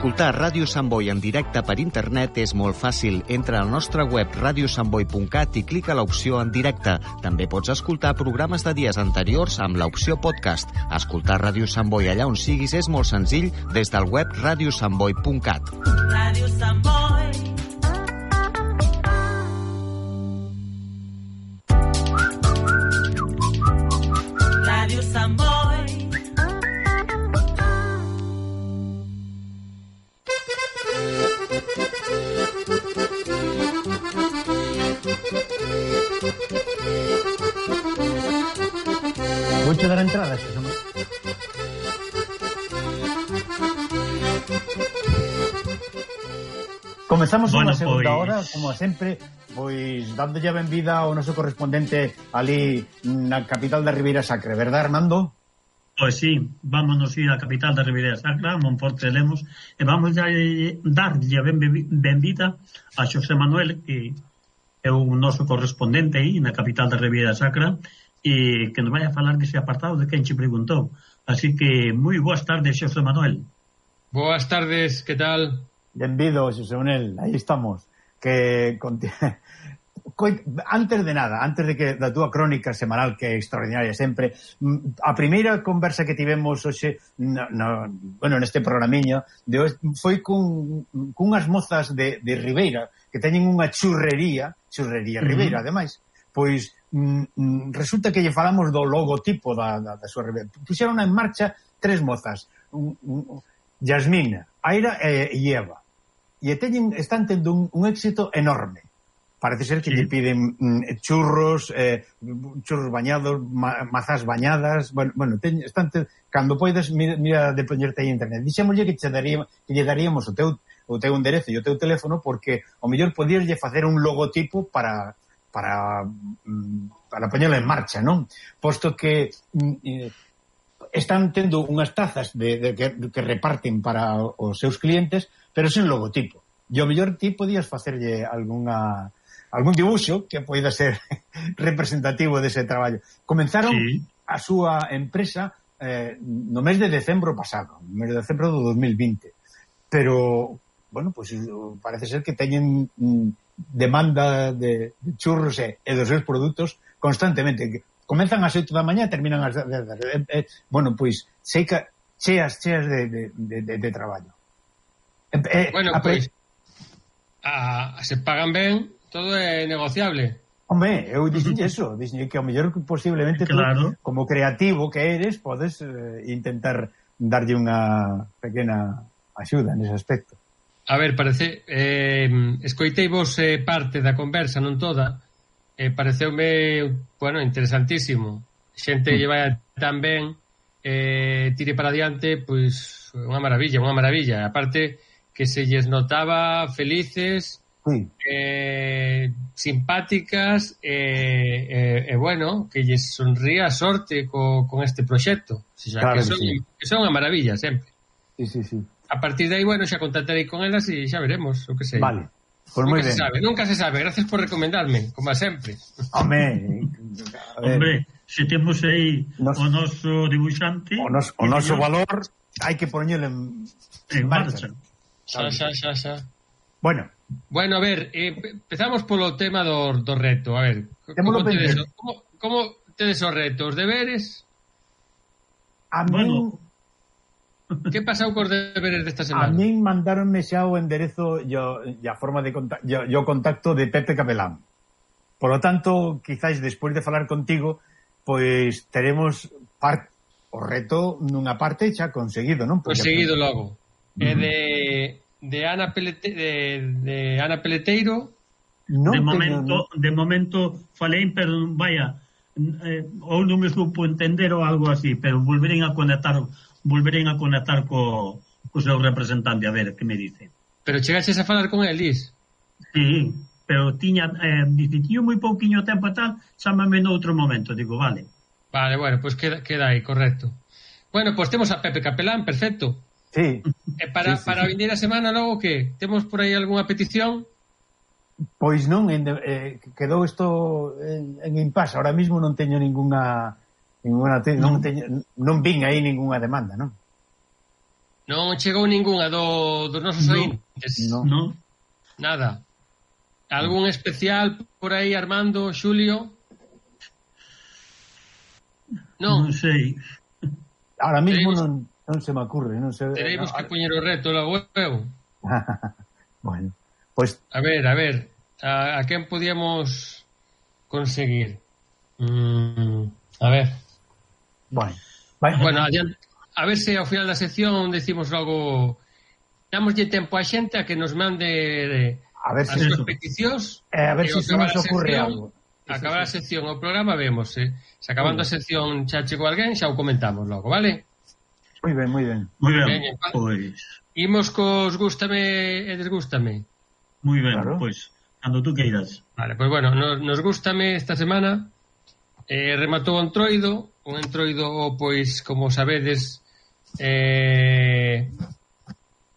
Escoltar Ràdio Sant Boi en directe per internet és molt fàcil. Entra al nostre web radio sant boi punt cat i clica l'opció en directe. També pots escoltar programes de dies anteriors amb l'opció podcast. Escoltar Ràdio Sant Boi allà on siguis és molt senzill des del web radio sant boi punt cat. Ràdio Sant Boi. Ràdio Sant Boi. Voy a dar entrada, si no... Comezamos bueno, unha segunda pois... hora, como sempre, pois dándolle a benvida ao noso correspondente ali na capital da Ribeira Sacra, verdad, Armando? Pois sí, vámonos ir á capital da Ribeira Sacra, Monforte de Lemos, e vamos a darlle a benvida a Xosé Manuel, que é o noso correspondente aí na capital da Ribeira Sacra, e que nos vai a falar dese apartado de quen che preguntou. Así que, moi boas tardes, Xosé Manuel. Boas tardes, que tal? Benvido, Xosé Manuel, aí estamos. Que antes de nada, antes de que da túa crónica semanal, que é extraordinaria sempre, a primeira conversa que tivemos hoxe no, no, bueno, neste programiño de hoxe, foi cun, cunhas mozas de, de Ribeira que teñen unha churrería, churrería uh-huh. Ribeira, ademais, pois mm, resulta que lle falamos do logotipo da, da, da súa Ribeira. Puxeron en marcha tres mozas, un, un, Yasmina, Aira e, e Eva, e teñen, están tendo un, un éxito enorme. Parece ser que sí. lle piden mm, churros, eh, churros bañados, ma, mazás bañadas, bueno, bueno teñ, están te, cando poides mira, mira de poñerte aí en internet. Dixémoslle que che daría, que lle daríamos o teu o teu enderezo e o teu teléfono porque o mellor podíaslle facer un logotipo para para para poñelo en marcha, non? Posto que eh, están tendo unhas tazas de, de que, que reparten para os seus clientes, pero sen logotipo. E o mellor ti podías facerlle algunha algún dibuixo que poida ser representativo dese traballo. Comenzaron sí. a súa empresa eh, no mes de decembro pasado, no mes de decembro do dos mil vinte. Pero, bueno, pues parece ser que teñen mm, demanda de, de churros e, e dos seus produtos constantemente. Comenzan ás oito da mañá e terminan ás dez da tarde. Eh, eh, bueno, pois, sei que cheas, cheas de, de, de, de, de traballo. Eh, eh, bueno, pois, a, se pagan ben, todo é negociable. Hombre, eu dixen eso, dixen que ao mellor posiblemente claro. tú, como creativo que eres, podes eh, intentar darlle unha pequena axuda nese aspecto. A ver, parece, eh, escoitei vos eh, parte da conversa, non toda, eh, pareceume, bueno, interesantísimo. Xente mm. lle vai tan ben, eh, tire para adiante, pois, unha maravilla, unha maravilla. Aparte, que se lles notaba felices, sí. eh, simpáticas, e eh, eh, eh, bueno, que lles sonría a sorte co, con este proxecto. O sea, claro que, son, que, sí. que son unha maravilla, sempre. Sí, sí, sí. A partir de aí, bueno, xa contactarei con elas e xa veremos, o que sei. Vale, pues moi ben. Se sabe, nunca se sabe, gracias por recomendarme, como sempre. Hombre, Hombre, se temos aí nos, o noso dibuixante... O, nos, o noso valor, hai que poñelo en, en marcha. Xa, xa, xa, xa. Bueno. Bueno, a ver, eh, empezamos polo tema do, do reto, a ver. Como tedes, como, como tedes os retos, deberes? A mí... Bueno... Que pasou cos deberes desta semana? A min mandaronme xa o enderezo e a forma de contacto, o contacto de Pepe Capelán. Por lo tanto, quizáis despois de falar contigo, pois teremos part, o reto nunha parte xa conseguido, non? Conseguido logo. Uh-huh. E de, de, Ana Pelete, de, de Ana Peleteiro? Non de, momento, tengo... de momento falei, pero vaya, eh, ou non me supo entender ou algo así, pero volverén a conectar... volverén a conectar co, co seu representante a ver que me dice. Pero chegaches a falar con el, Lis? Sí, pero tiña eh, dice, tío, moi pouquiño tempo e tal, chámame no outro momento, digo, vale. Vale, bueno, pues queda, queda aí, correcto. Bueno, pues temos a Pepe Capelán, perfecto. Sí. E para, sí, sí, para sí. vindeira semana logo que? Temos por aí algunha petición? Pois non, en, eh, quedou isto en, en impasse, ahora mismo non teño ninguna... Ninguna te, non, teño, non vin aí ninguna demanda, non? Non chegou ningunha do, dos nosos No. ointes. No. No. Nada. Algún especial por aí, Armando, Xulio? Non. Non sei. Ahora mismo Teremos- non, non se me ocurre, non se... Teremos no, que poñer o reto logo eu. Bueno, pues A ver, a ver. A, a quen podíamos conseguir? Mm, a ver. bueno, bueno, Bueno, adiante. A ver se ao final da sección decimos logo... Damoslle tempo a xente a que nos mande eh, a ver as se, súas Eso. peticións. eh, a ver e se ao se acabar nos a ocurre sección- algo. Acabar a Sí, sí. sección o programa vemos, eh. Se acabando a sección xa chegou alguén, xa o comentamos logo, vale? Moi ben, moi ben. Moi ben, Veña, pa- pois... Imos cos gústame e desgústame. Moi ben, Claro. pois... Cando tú queiras. Vale, pois bueno, nos, nos gústame esta semana. Eh, rematou o entroido, un entroido, pois, como sabedes, eh,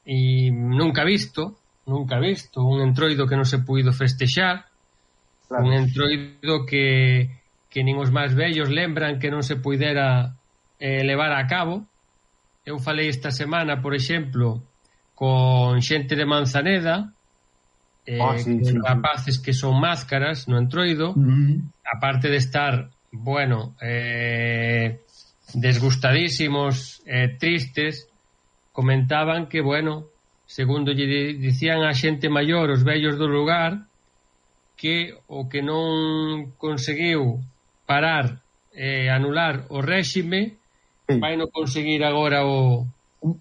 e nunca visto, nunca visto, un entroido que non se puido festexar, Claro. un entroido que, que nin os máis vellos lembran que non se puidera eh, levar a cabo. Eu falei esta semana, por exemplo, con xente de Manzaneda, eh, Ah, sí, con sí, sí. rapaces que son máscaras no entroido, Mm. aparte de estar, bueno, eh, desgustadísimos, eh, tristes, comentaban que, bueno, segundo lle di- dicían a xente maior, os vellos do lugar, que o que non conseguiu parar, eh, anular o réxime, Sí. vai non conseguir agora o, Un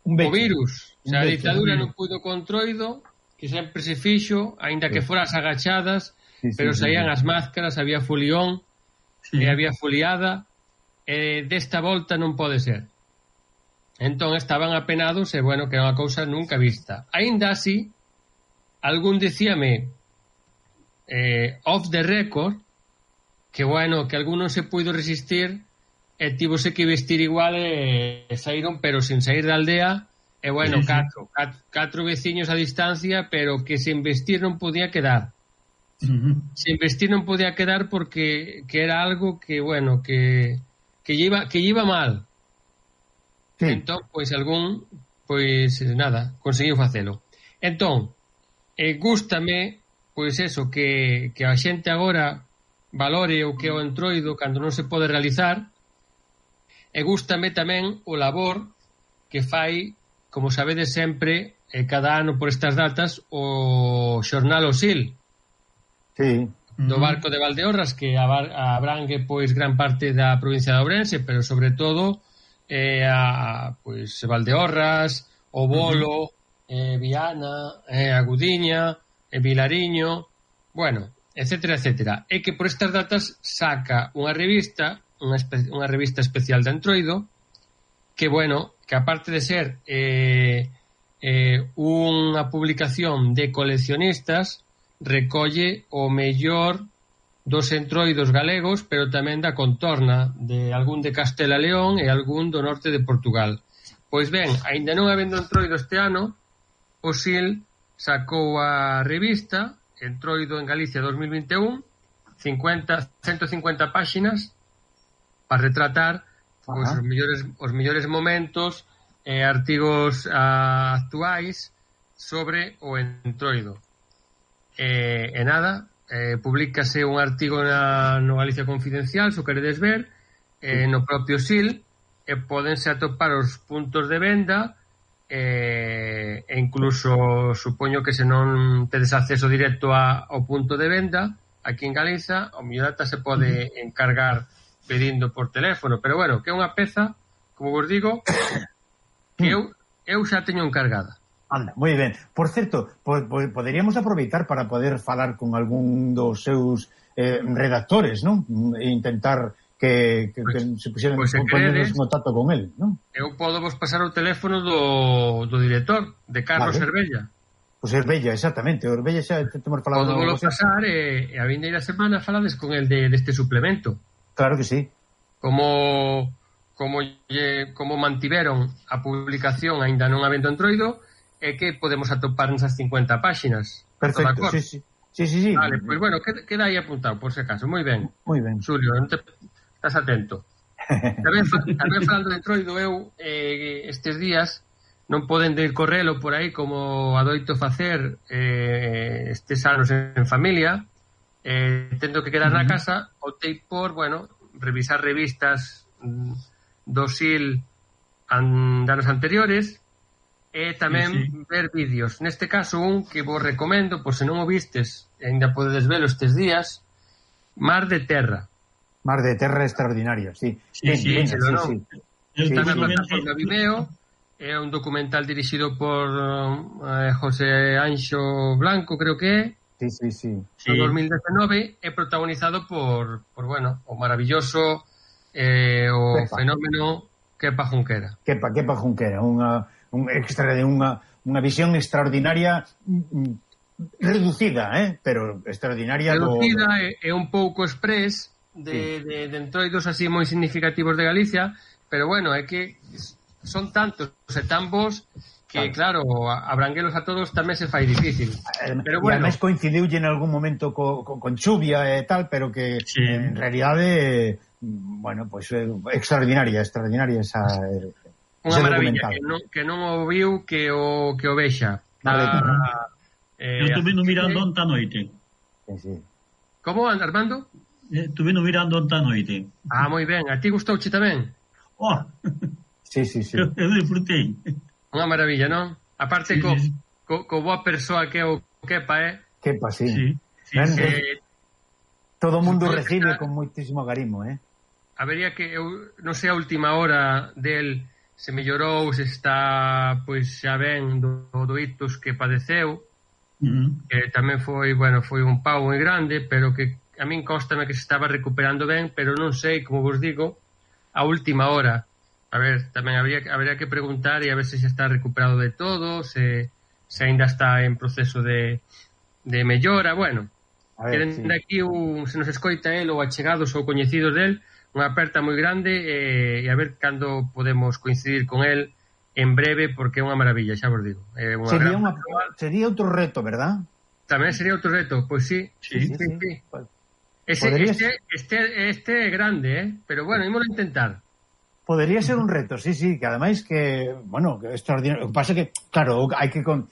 o becho. virus. O sea, a Un becho, ditadura un non puido controido, que sempre se fixo, aínda que Sí. foras agachadas, Sí, sí, pero sí, saían sí. as máscaras, había folión, Sí. e había foliada, e desta volta non pode ser. Entón estaban apenados e, bueno, que é unha cousa nunca vista. Aínda así, algún dicíame eh, off the record que, bueno, que algún non se puido resistir e tivose que vestir igual e, e saíron, pero sin sair da aldea, e, bueno, Sí, sí. catro, catro, catro veciños a distancia, pero que sin vestir non podía quedar. Ujú. Sin vestir non podía quedar porque que era algo que, bueno, que que lleva que lleva mal. Sí. Entón, pois algún, pois nada, conseguiu facelo. Entón, eh, gústame, pois eso, que, que a xente agora valore o que é o entroido cando non se pode realizar, e gústame tamén o labor que fai, como sabedes sempre, eh, cada ano por estas datas, o xornal O Sil, Sí. do Ujú. barco de Valdeorras, que abar- abrangue pois gran parte da provincia de Ourense, pero sobre todo eh, a pois Valdeorras, O Bolo, eh, Viana, eh, Agudiña, eh, Vilariño, bueno, etcétera, etcétera. E que por estas datas saca unha revista, unha, espe- unha revista especial de Entroido, que, bueno, que aparte de ser eh, eh, unha publicación de coleccionistas, recolle o mellor dos entroidos galegos, pero tamén da contorna de algún de Castela e León e algún do norte de Portugal. Pois ben, aínda non habendo entroido este ano, o Sil sacou a revista Entroido en Galicia dos mil vinte e un, cincuenta, ciento cincuenta páxinas para retratar pois, Ajá. os mellores os mellores momentos e artigos ah, actuais sobre o entroido. E, e nada, eh, publícase un artigo na, no Galicia Confidencial, se o queredes ver, eh, no propio Sil, e pódense atopar os puntos de venda, eh, e incluso supoño que se non tedes acceso directo a, ao punto de venda aquí en Galiza, o mellor ata se pode encargar pedindo por teléfono, pero bueno, que é unha peza, como vos digo, que eu, eu xa teño encargada. Anda, moi ben. Por certo, po, po, poderíamos aproveitar para poder falar con algún dos seus eh, redactores, non? E intentar que, que, Pois- que se puxeran pois se poñernos queredes- en contacto con el, non? Eu podo vos pasar o teléfono do, do director, de Carlos Vale. Cervella. Pois Herbella, exactamente. O Herbella xa te- temos falado. Podo volo con vos. pasar e, e a vindeira semana falades con el de, deste suplemento. Claro que sí. Como como lle, como mantiveron a publicación aínda non habendo entroido e que podemos atopar nesas cincuenta páxinas. Perfecto, Está de acordo? sí, sí. Sí, sí, sí. Vale, pois pues bueno, queda, queda aí apuntado, por se acaso. Moi ben. Moi ben. Xulio, non te, estás atento. tamén, tamén falando de Entroido, eu eh, estes días non poden de ir correlo por aí como adoito facer eh, estes anos en familia, eh, tendo que quedar uh -huh. na casa, optei por, bueno, revisar revistas do S I L an, de anos anteriores e tamén sí, sí. ver vídeos. Neste caso, un que vos recomendo, por se non o vistes, ainda podedes velo estes días, Mar de Terra. Mar de Terra extraordinario, sí. Sí, sí, sí, sí, sí, sí. sí, Está na sí, plataforma Vimeo, é un documental dirixido por eh, José Anxo Blanco, creo que é. Sí, sí, sí. En dos mil dezenove é protagonizado por, por bueno, o maravilloso eh, o Kepa. fenómeno Kepa Junquera. Kepa, Kepa Junquera, unha un extra de unha unha visión extraordinaria reducida, eh, pero extraordinaria. Reducida do... e, e un pouco express de, sí. de, de entroidos así moi significativos de Galicia, pero bueno, é que son tantos e tan bons que, claro, abranguelos a todos tamén se fai difícil. Pero bueno, e además coincidiu en algún momento co, co, con chuvia e tal, pero que sí. en realidade, bueno, pues extraordinaria, extraordinaria esa... Unha maravilla, que non, que non o viu que o, que o vexa. Ah, eh, eu estuve no mirando onta noite. Sí, sí. Como, Armando? Eh, estuve no mirando onta noite. Ah, moi ben. A ti gustouche tamén? Oh, sí, sí, sí. Eu, eu disfrutei. Unha maravilla, non? Aparte, sí, co, sí. Co, co boa persoa que é o Kepa, eh? Kepa, sí. Sí, sí, sí. Eh, todo o mundo recibe con moitísimo garimo, eh? Habería que, eu non sei a última hora del se mellorou, se está, pois, xa ben do, do ictus que padeceu, uh -huh. que tamén foi, bueno, foi un pau moi grande, pero que a min constame que se estaba recuperando ben, pero non sei, como vos digo, a última hora. A ver, tamén habría, habría que preguntar e a ver se xa está recuperado de todo, se, se ainda está en proceso de, de mellora. Bueno, a ver, que sí. aquí un, se nos escoita el ou achegados ou coñecidos del, unha aperta moi grande e, e a ver cando podemos coincidir con el en breve, porque é unha maravilla, xa vos digo. É unha sería, gran... unha, sería outro reto, verdad? Tamén sería outro reto, pois sí. Sí, sí, sí. sí. Ese, este, este, este é grande, eh? Pero bueno, ímolo intentar. Podería ser un reto, sí, sí, que ademais que, bueno, que extraordinario. O que pasa que, claro, hai que con,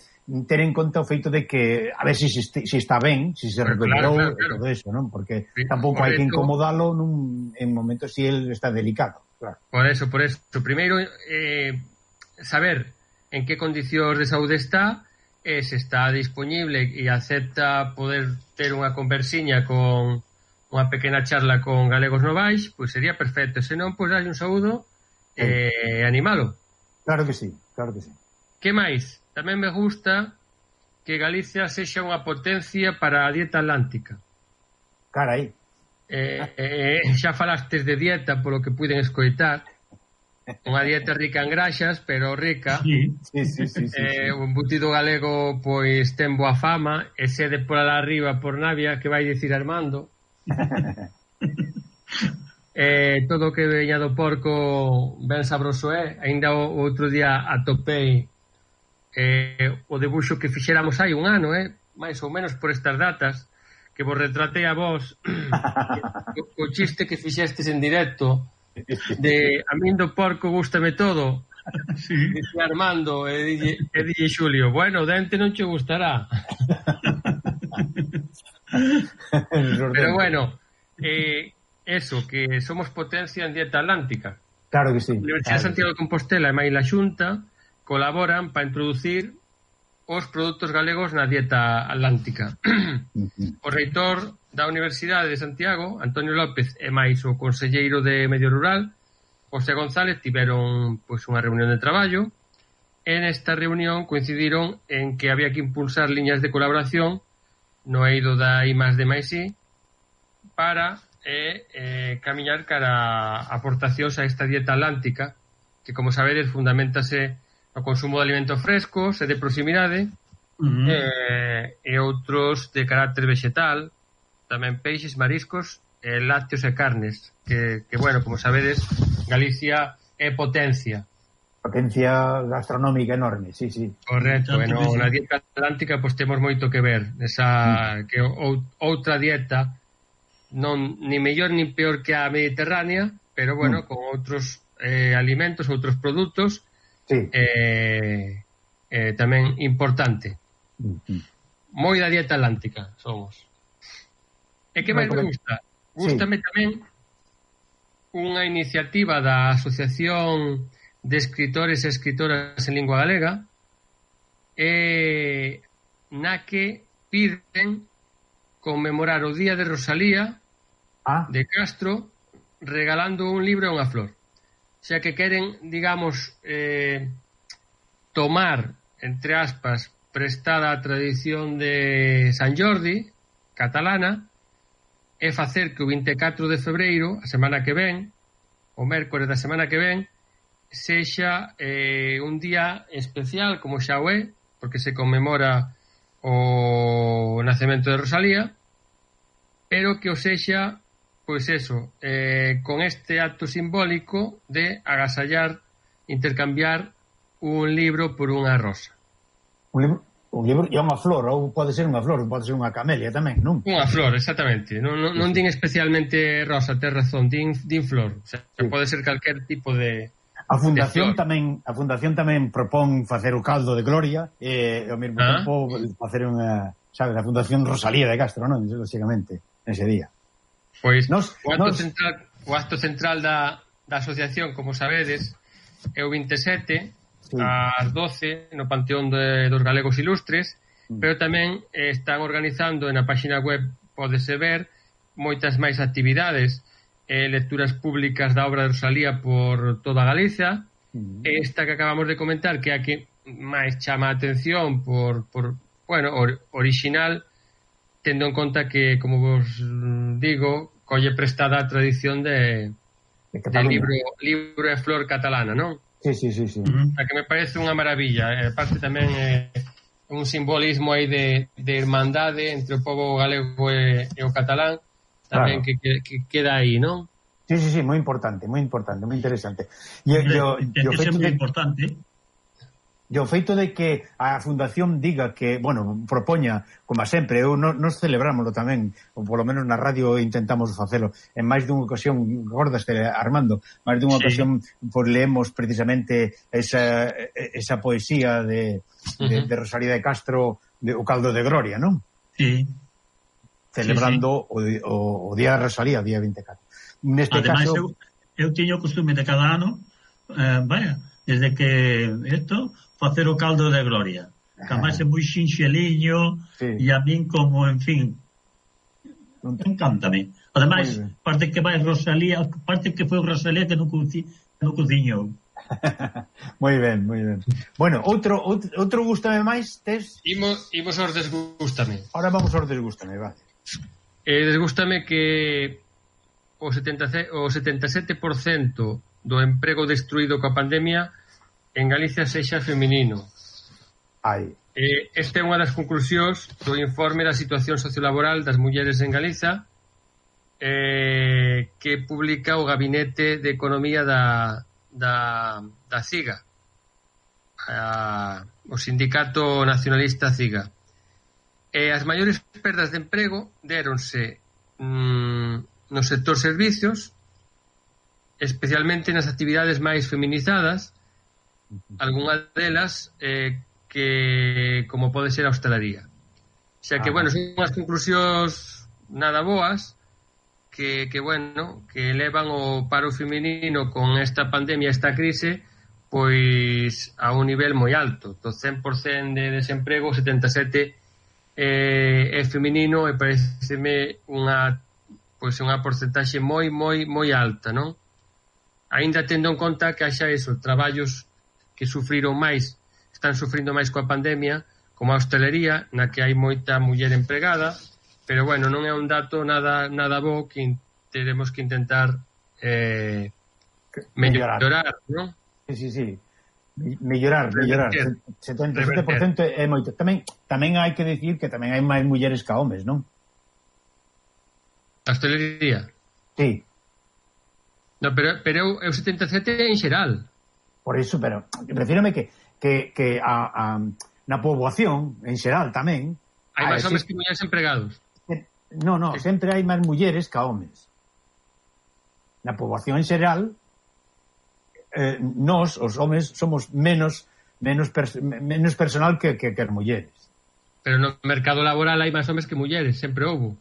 ter en conta o feito de que a ver se si, si, si está ben, si se recuperou, claro, claro, claro. todo eso, non? Porque sí, tampouco hai que incomodalo nun, en momentos si el está delicado, claro. Por eso, por eso. Primeiro, eh, saber en que condicións de saúde está, eh, se está disponible e acepta poder ter unha conversiña con unha pequena charla con Galegos Novais, pois sería perfecto. Se non, pois darlle un saúdo e eh, animalo. Claro que sí, claro que sí. Que máis? Tamén me gusta que Galicia sexa unha potencia para a dieta atlántica. Carai. Eh, eh, xa falastes de dieta polo que puiden escoitar. Unha dieta rica en graxas, pero rica. Sí, sí, sí, sí, sí, eh, sí. O embutido galego pois ten boa fama, e sede por alá arriba por Navia, que vai dicir Armando. eh, todo o que veña do porco ben sabroso é. Ainda o outro día atopei eh, o debuxo que fixéramos hai un ano, eh, máis ou menos por estas datas, que vos retratei a vos o, o chiste que fixestes en directo de a min do porco gústame todo. Sí. Dice Armando e dille, e dille Xulio, bueno, o dente non che gustará. Pero bueno, eh, eso, que somos potencia en dieta atlántica. Claro que sí. A Universidade claro. de Santiago de Compostela e máis la Xunta colaboran para introducir os produtos galegos na dieta atlántica. O reitor da Universidade de Santiago, Antonio López, e máis o conselleiro de Medio Rural, José González, tiveron pois unha reunión de traballo. En esta reunión coincidiron en que había que impulsar liñas de colaboración no eido da I más D máis I para eh, eh, camiñar cara a aportacións a esta dieta atlántica, que, como sabedes, fundamentase no consumo de alimentos frescos e de proximidade, uh-huh. eh, e outros de carácter vegetal, tamén peixes, mariscos, eh, lácteos e carnes, que, que, bueno, como sabedes, Galicia é potencia. Potencia gastronómica enorme, sí, sí. Correcto, bueno, na dieta atlántica pois temos moito que ver, esa mm. que ou, outra dieta non ni mellor ni peor que a mediterránea, pero bueno, Mm. con outros eh, alimentos, outros produtos, Sí. eh, eh, tamén importante. Mm-hmm. Moi da dieta atlántica somos. E que máis me Recomen- gusta? Gústame tamén unha iniciativa da Asociación de Escritores e Escritoras en Lingua Galega, eh, na que piden conmemorar o Día de Rosalía Ah, de Castro regalando un libro e unha flor. O sea que queren, digamos, eh, tomar, entre aspas, prestada a tradición de San Jordi, catalana, e facer que o vinte e catro de febreiro, a semana que ven, o mércores da semana que ven, sexa eh, un día especial, como xa o é, porque se conmemora o nacemento de Rosalía, pero que o sexa, pois eso, eh, con este acto simbólico de agasallar, intercambiar un libro por unha rosa. un libro, un libro e unha flor, ou pode ser unha flor, pode ser unha camelia tamén, non? Unha flor, exactamente. Non, non, non din especialmente rosa, tes razón, din, din flor. O sea, Sí. pode ser calquer tipo de... A fundación de flor. tamén, a fundación tamén propón facer o caldo de gloria e ao mesmo Ah. tempo facer unha, sabes, a fundación Rosalía de Castro, non? Lógicamente, ese día. Pois Nos- o acto nos- central, o acto central da, da asociación, como sabedes, é o vinte e sete Sí. ás doce no Panteón de, dos Galegos Ilustres, Mm. pero tamén eh, están organizando na página web, pódese ver, moitas máis actividades, eh, lecturas públicas da obra de Rosalía por toda Galiza. Mm. Esta que acabamos de comentar, que é a que máis chama a atención por, por bueno, or, original, tendo en conta que, como vos mm, digo, colle prestada a tradición de, De de Cataluña. libro, libro e flor catalana, non? Sí, sí, sí, sí. Uh-huh. A que me parece unha maravilla. E, aparte tamén é un simbolismo aí de, de hermandade entre o povo galego e, e o catalán, tamén Claro. que, que, que queda aí, non? Sí, sí, sí, moi importante, moi importante, moi interesante. E Hombre, o ten que ser feito moi de importante. E o feito de que a fundación diga que, bueno, propoña, como sempre, eu no, nos celebrámoslo tamén, ou polo menos na radio intentamos facelo, en máis dunha ocasión, gordaste, Armando, máis dunha Sí. ocasión, pois leemos precisamente esa, esa poesía de, de, Ujú. de Rosalía de Castro, de, o caldo de gloria, non? Sí. Celebrando sí, sí. O, o Día de Rosalía, día vinte e catro. Neste Ademais, caso... eu, eu tiño o costume de cada ano, eh, vaya, desde que isto, facer o caldo de gloria. Camás é moi xinxeliño, Sí. e a min como, en fin, encántame. Ademais, Moi ben. parte que vai Rosalía, parte que foi Rosalía que non, coci, non cociñou. moi ben, moi ben. Bueno, outro, outro, outro gústame máis, tes? Imos, imos aos desgústame. Ahora vamos aos desgústame, vale. Eh, desgústame que o, setenta, o setenta e sete por cento do emprego destruído coa pandemia en Galicia sexa feminino. Ai, Eh, esta é unha das conclusións do informe da situación sociolaboral das mulleres en Galiza, eh, que publica o Gabinete de Economía da, da, da CIGA, a, o Sindicato Nacionalista CIGA. E as maiores perdas de emprego déronse mm, no sector servicios, especialmente nas actividades máis feminizadas, algunhas delas eh, que como pode ser a hostelería. O sea que, Ah. bueno, son unhas conclusións nada boas que, que, bueno, que elevan o paro feminino con esta pandemia, esta crise, pois a un nivel moi alto. Do cen por cento de desemprego, setenta e sete por cento eh, é feminino, e pareceme unha pois unha porcentaxe moi, moi, moi alta, non? Ainda tendo en conta que haxa eso, traballos que sufriron máis, están sufrindo máis coa pandemia, como a hostelería, na que hai moita muller empregada, pero bueno, non é un dato nada nada bo que in- teremos que intentar eh, mellorar. mellorar, non? Sí, sí, sí. Me- Mellorar, mellorar. Reverter. setenta e sete por cento é moito. Tamén tamén hai que decir que tamén hai máis mulleres que homes, non? A hostelería. Sí, No, pero, pero é o setenta e sete en xeral. por iso, pero refírame que que, que a, a, na poboación, en xeral tamén, Hai ah, máis homes existe- que mulleres empregados. No, no, sempre hai máis mulleres que homes. na poboación en xeral, eh, nós, os homes, somos menos menos, pers menos personal que, que, que as mulleres. Pero no mercado laboral hai máis homes que mulleres, sempre houbo.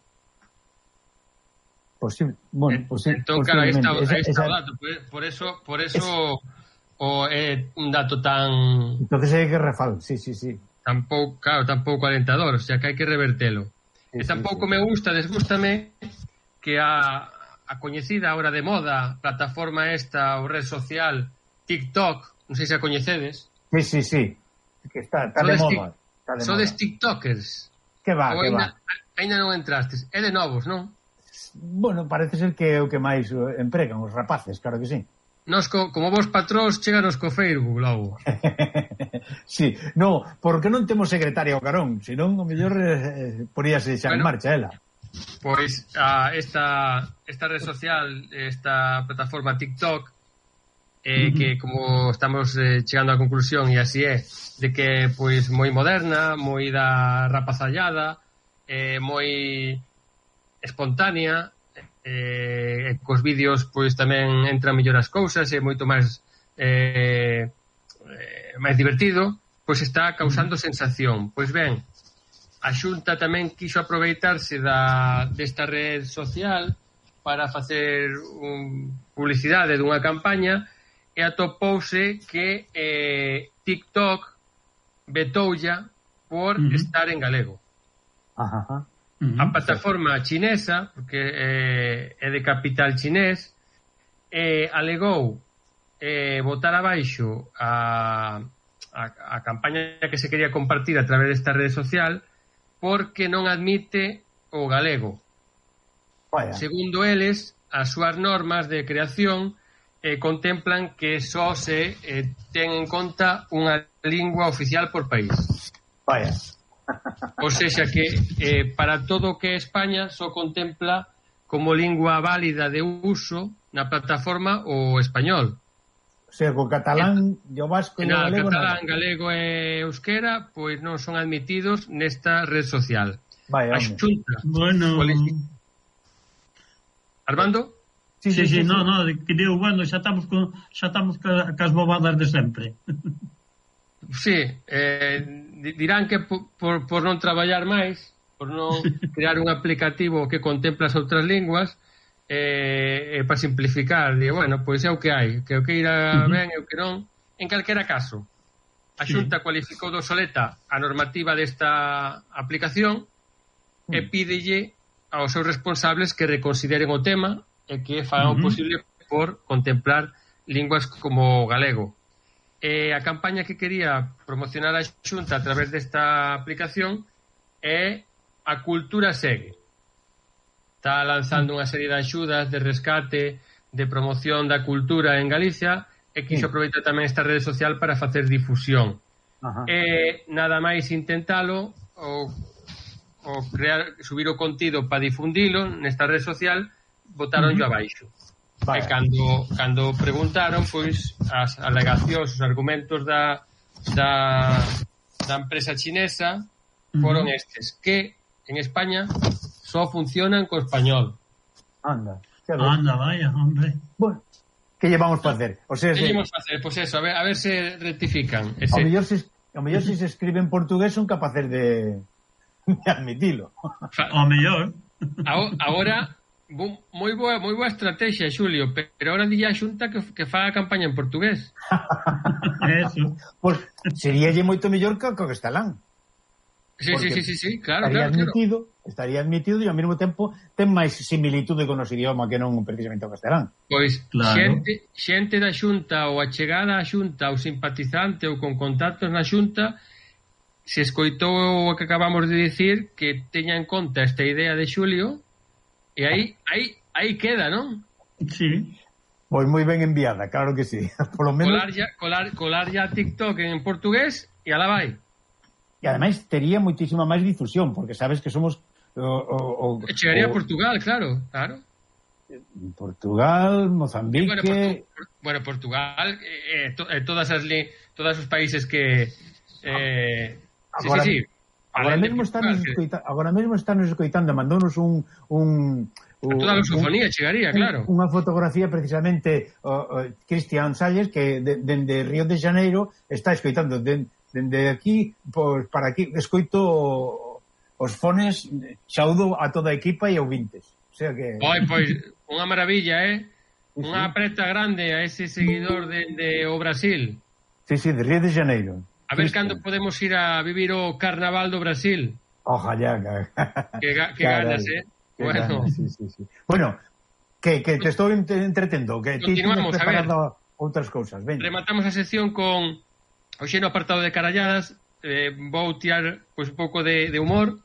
Posible, bueno, posi entón, claro, aí está, aí está esa... o dato, por eso, por eso es... o é un dato tan... Entonces hai que refal, sí, sí, sí. Tampouco, claro, tampouco alentador, o sea que hai que revertelo. Sí, e tampouco sí, sí. me gusta, desgústame que a, a coñecida ahora de moda plataforma esta ou red social TikTok, non sei se a coñecedes. Sí, sí, sí, que está, está de moda. Está de sodes moda. TikTokers. Que va, o que ainda, va. Ainda non entrastes, é de novos, non? Bueno, parece ser que é o que máis empregan os rapaces, claro que sí. Nos, co, como vos patróns, cheganos co Facebook logo. Sí, no, porque non temos secretaria ao carón, senón o mellor eh, poríase xa bueno, en marcha ela. Pois a, esta, esta red social, esta plataforma TikTok, eh, uh -huh. que como estamos eh, chegando á conclusión, e así é, de que pois moi moderna, moi da rapazallada, eh, moi espontánea, eh, cos vídeos pois tamén entran mellor as cousas, é moito máis eh, eh, máis divertido, pois está causando sensación. Pois ben, a Xunta tamén quiso aproveitarse da, desta red social para facer un, publicidade dunha campaña e atopouse que eh, TikTok vetoulla por uh -huh. estar en galego. Ajá, ajá. Uh -huh. A plataforma chinesa, porque eh, é de capital chinés, eh, alegou eh, botar abaixo a, a, a campaña que se quería compartir a través desta rede social porque non admite o galego. Vaya. Segundo eles, as súas normas de creación eh, contemplan que só se eh, ten en conta unha lingua oficial por país. Vaya. O seja que eh, para todo o que é España só contempla como lingua válida de uso na plataforma o español. O sea, co catalán, e o vasco e o galego catalán, nada. Galego e euskera pois non son admitidos nesta red social. Vaya, a Xunta. Bueno, Armando? Sí, sí, sí, sí, sí. no, no, que digo, bueno, xa estamos con xa estamos ca, cas bobadas de sempre. Sí, eh dirán que por, por, por non traballar máis, por non crear un aplicativo que contempla as outras linguas, eh, eh, para simplificar, digo, bueno, pois é o que hai, que o que irá uh -huh. ben e o que non. En calquera caso, a Xunta sí. cualificou de obsoleta a normativa desta aplicación uh -huh. e pídelle aos seus responsables que reconsideren o tema e que fagan uh -huh. o posible por contemplar linguas como o galego. Eh, a campaña que quería promocionar a Xunta a través desta aplicación é A Cultura Segue. Está lanzando unha serie de axudas de rescate, de promoción da cultura en Galicia e quiso aproveitar tamén esta rede social para facer difusión. Ajá. E nada máis intentalo ou, ou crear, subir o contido para difundilo nesta rede social, botaron yo uh -huh. abaixo. Vale. E cando, cando preguntaron, pois, as alegacións, os argumentos da, da, da empresa chinesa foron uh -huh. estes, que en España só funcionan co español. Anda, anda, vaya, hombre. Bueno, que llevamos para hacer? O sea, que se... llevamos para hacer? Pois pues eso, a ver, a ver se rectifican. Ese... O mellor se, o mellor se se escribe en portugués son capaces de, de admitilo. O mellor. Agora... moi boa, moi boa estrategia, Xulio, pero ahora dilla a Xunta que, que faga a campaña en portugués. Eso. Pois pues, seríalle moito mellor que o castelán. Sí, sí, sí, sí, sí, claro, estaría claro, admitido, claro. Estaría admitido e ao mesmo tempo ten máis similitude con os idioma que non precisamente o castelán. Pois claro. xente, xente da Xunta ou achegada á Xunta ou simpatizante ou con contactos na Xunta se escoitou o que acabamos de dicir, que teña en conta esta idea de Xulio. E aí, aí, aí queda, non? Sí. Pois moi ben enviada, claro que sí. Por lo menos... Colar ya, colar, colar ya TikTok en portugués e alá vai. E ademais tería moitísima máis difusión, porque sabes que somos... O, o, o, chegaría o... a Portugal, claro, claro. Portugal, Mozambique... Bueno, Portu bueno Portugal, eh, to eh, todas as li todos os países que... Eh, Agora... sí, sí, sí. Agora mesmo, estános escoita, agora mesmo estános escoitando, mandounos un, un, O, a toda a lusofonía chegaría, claro. Unha fotografía precisamente o, o Cristian Salles que dende de, de Río de Janeiro está escoitando dende de aquí por, para aquí escoito os fones, saúdo a toda a equipa e ouvintes. O sea que Oi, pois, unha maravilla, eh? Unha apreta grande a ese seguidor de, de o Brasil. Sí, sí, de Río de Janeiro. A ver cando podemos ir a vivir o Carnaval do Brasil. Ojalá. Que, ga, que ganas, eh? Bueno. Ganas, sí, sí, sí. Bueno, que, que te estou entretendo, que ti tienes preparado outras cousas. Ven. Rematamos a sección con hoxe no apartado de caralladas, eh, vou tirar pois, un pouco de, de humor,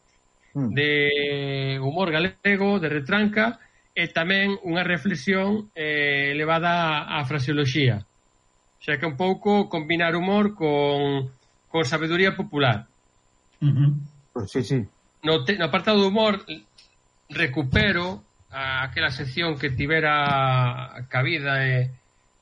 mm. de humor galego, de retranca, e tamén unha reflexión eh, elevada á fraseoloxía. Xa que un pouco combinar humor con, con sabedoría popular. Uh-huh. Sí, sí. No, te, no apartado de humor recupero a, aquela sección que tivera cabida eh,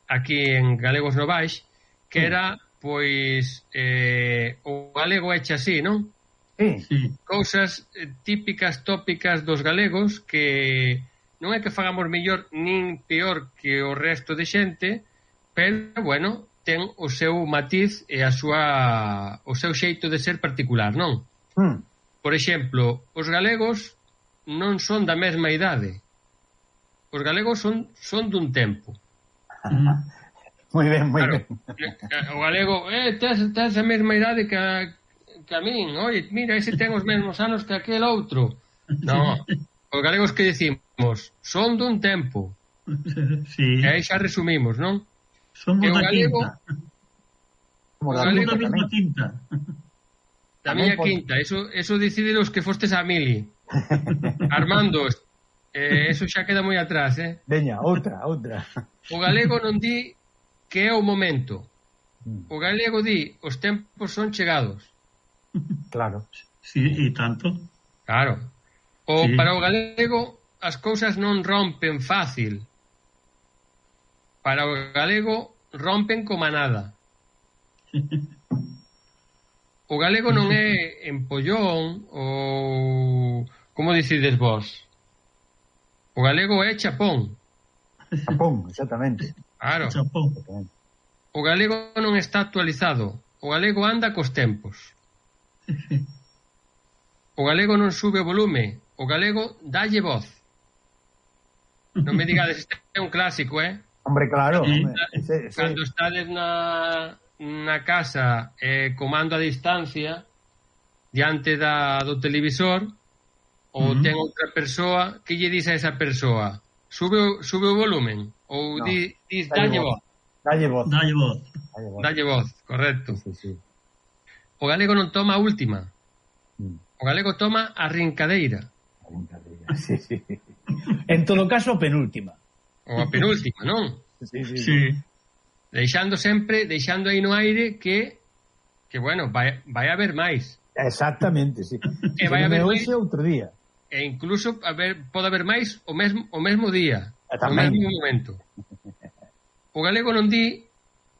aquí en Galegos Novais, que era, pois, eh, o galego eche así, non? Sí. Cousas eh, típicas, tópicas dos galegos que non é que fagamos mellor nin peor que o resto de xente, pero, bueno, ten o seu matiz e a súa o seu xeito de ser particular, non? Mm. Por exemplo, os galegos non son da mesma idade. Os galegos son son dun tempo. Moi ben, moi claro, ben. O galego, eh, tes, tes a mesma idade que a, que a min. Oye, mira, ese ten os mesmos anos que aquel outro. Non. Os galegos que decimos son dun tempo. Sí. E aí xa resumimos, non? Somos da galego, quinta. Somos da mesma quinta. Da miña quinta. Eso, eso decide os que fostes a Mili. Armando, eh, eso xa queda moi atrás, eh? Veña, outra, outra. O galego non di que é o momento. O galego di os tempos son chegados. Claro. Sí, e tanto. Claro. O sí. Para o galego as cousas non rompen fácil. Para o galego rompen como a nada. O galego non é empollón ou como dicides vos. O galego é chapón. Chapón, exactamente. Claro. Chapón. O galego non está actualizado. O galego anda cos tempos. O galego non sube o volume. O galego dalle voz. Non me digades, este é un clásico, eh? Hombre, claro. Sí. Hombre. Sí, sí. Cando estades na, na casa eh, comando a distancia diante da, do televisor ou uh-huh. ten outra persoa, que lle dis a esa persoa? Sube, sube o volumen? Ou no. di, dis dalle voz? Dalle voz. Dalle voz. Dalle voz, correcto. Sí, sí. O galego non toma a última. O galego toma a rincadeira. Sí, sí. En todo caso, a penúltima. Ou a penúltima, non? Sí, sí, sí. Deixando sempre, deixando aí no aire que, que bueno, vai, vai haber máis. Exactamente, sí. E vai haber máis outro día. E incluso haber, pode haber máis o mesmo, o mesmo día, o Tamén. mesmo momento. O galego non di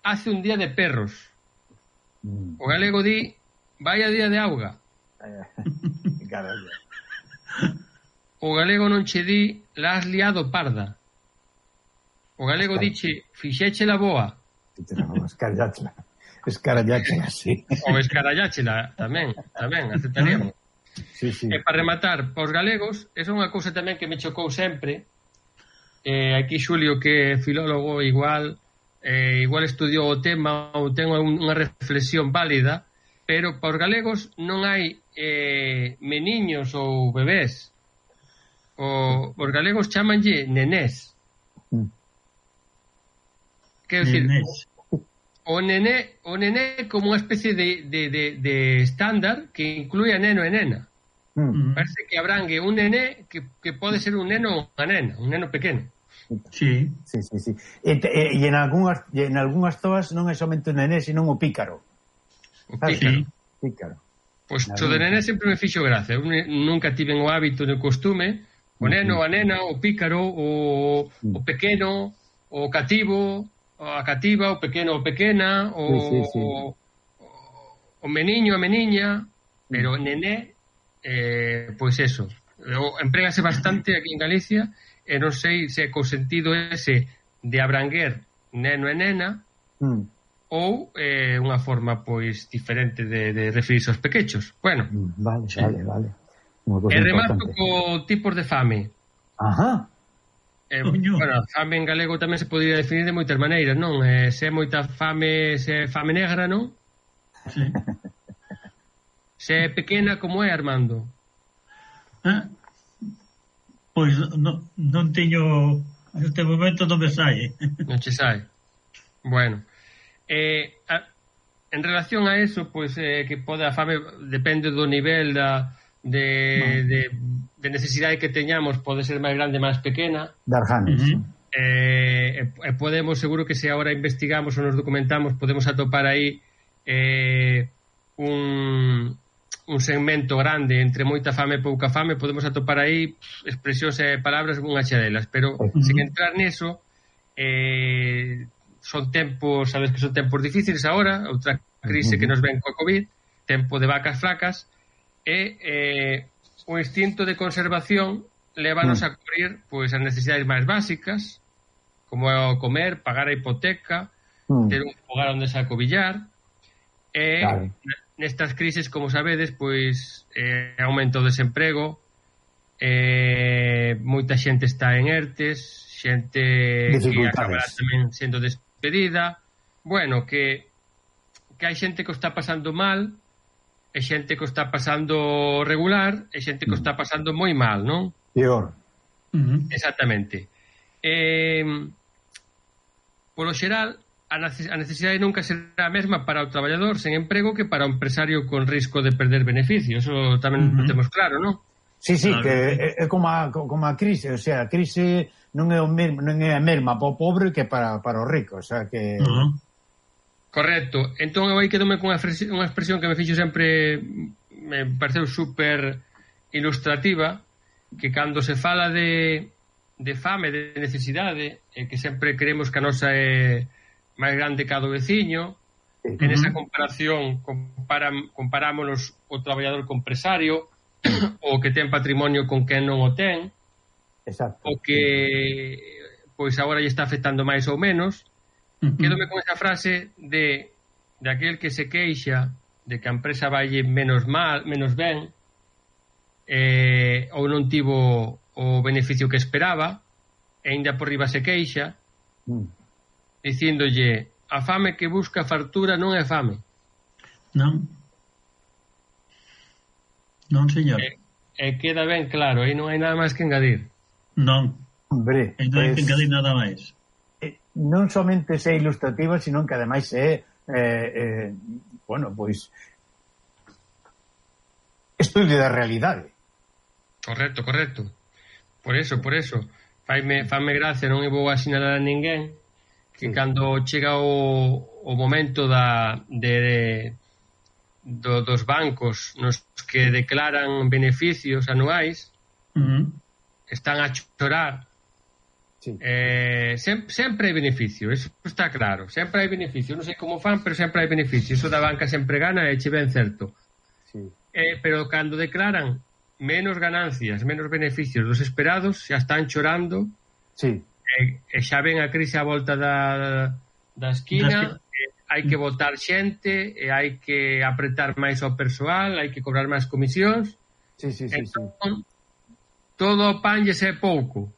hace un día de perros. O galego di vaya día de auga. Carallo. O galego non che di la has liado parda. O galego diche fixeche la boa. Escaralláchela. Escaralláchela, sí. Ou escaralláchela, tamén, tamén, aceptaríamos. Sí, sí. E para rematar, para os galegos, esa é unha cousa tamén que me chocou sempre. Eh, aquí Xulio, que é filólogo, igual eh, igual estudiou o tema ou ten unha reflexión válida, pero para os galegos non hai eh, meniños ou bebés. O, os galegos chamanlle nenés. Mm. Quero dicir, o nené, o nené é como unha especie de, de, de, de estándar que inclúe a neno e nena. Mm. Parece que abrangue un nené que, que pode ser un neno ou unha nena, un neno pequeno. Sí. Sí, sí, sí. E, e, e en algunhas e en algunhas zoas non é somente un nené, sino o pícaro. O pícaro. Sí. Pícaro. Pois pues, o de nené sempre me fixo gracia. Eu nunca tiven o hábito no costume. O neno, a nena, o pícaro, o, o pequeno, o cativo, a cativa, o pequeno, o pequena, o, sí, sí, sí. o, o meniño, a meniña, pero nené, eh, pois eso. Emprégase bastante aquí en Galicia, e non sei se co sentido ese de abranguer neno e nena, mm. ou eh, unha forma pois diferente de, de referirse aos pequechos. Bueno, vale, sí. vale, vale. E remato co tipos de fame. Ajá. Eh, bueno, fame en galego tamén se podría definir de moitas maneiras, non? Eh, se é moita fame, se é fame negra, non? Sí. Se é pequena, como é, Armando? Ah, pois non, non teño... Neste momento non me sai. Non che sai. Bueno, eh, a, en relación a eso, pois eh, que pode a fame depende do nivel da, de, no. de, de necesidade que teñamos, pode ser máis grande, máis pequena. Darjanes. Uh-huh. eh, e podemos, seguro que se agora investigamos ou nos documentamos, podemos atopar aí eh, un, un segmento grande entre moita fame e pouca fame, podemos atopar aí expresións e palabras unha xa delas, pero uh-huh. sen entrar neso, eh, son tempos, sabes que son tempos difíciles agora, outra crise uh-huh. que nos ven coa COVID, tempo de vacas flacas, e eh, o instinto de conservación lévanos uh-huh. a cubrir pois as necesidades máis básicas, como comer, pagar a hipoteca, uh-huh. ter un fogar onde se acobillar, e claro. nestas crises, como sabedes, pois eh, aumento o desemprego, eh, moita xente está en ERTES, xente que acabará tamén sendo despedida, bueno, que que hai xente que o está pasando mal, e xente que o está pasando regular, e xente que o está pasando moi mal, non? Peor. Uh-huh. Exactamente. Eh, polo xeral, a necesidade nunca será a mesma para o traballador sen emprego que para o empresario con risco de perder beneficios. Eso tamén uh-huh. temos claro, non? Sí, sí, claro. que é como a, como a crise, o sea, a crise non é o mesmo, non é a mesma para o pobre que para, para o rico, o sea, que... Uh-huh. Correcto. Entón, eu aí quedome con unha expresión que me fixo sempre, me pareceu super ilustrativa, que cando se fala de, de fame, de necesidade, eh, que sempre creemos que a nosa é máis grande que a do veciño, uh-huh. en esa comparación comparam, comparámonos o traballador con empresario, o que ten patrimonio con quen non o ten, exacto. o que pois agora lle está afectando máis ou menos. Uh-huh. Quédome con esa frase de, de aquel que se queixa de que a empresa valle menos mal, menos ben, eh, ou non tivo o beneficio que esperaba, e ainda por riba se queixa, uh-huh. dicíndolle: a fame que busca fartura non é fame. Non. Non, señor. E, e queda ben claro, aí non hai nada máis que engadir. Non. Hombre, non hai que engadir nada máis. Eh, non somente é ilustrativa, sino que ademais é eh, eh, bueno, pois estudio da realidade. Correcto, correcto. Por eso, por eso. Faime, faime gracia, non vou a sinalar a ninguén que sí. cando chega o, o momento da de, de do, dos bancos nos que declaran beneficios anuais, uh-huh. están a chorar. Sí. Eh, sempre, sempre hai beneficio, eso está claro. Sempre hai beneficio, non sei como fan, pero sempre hai beneficio. Iso da banca sempre gana e che ben certo. Sí. Eh, pero cando declaran menos ganancias, menos beneficios dos esperados, xa están chorando. Sí. E, e xa ven a crise a volta da, da esquina. Hai que votar xente, e hai que apretar máis ao persoal, hai que cobrar máis comisións. Sí, sí, sí, entón, sí. todo o pan lle é pouco.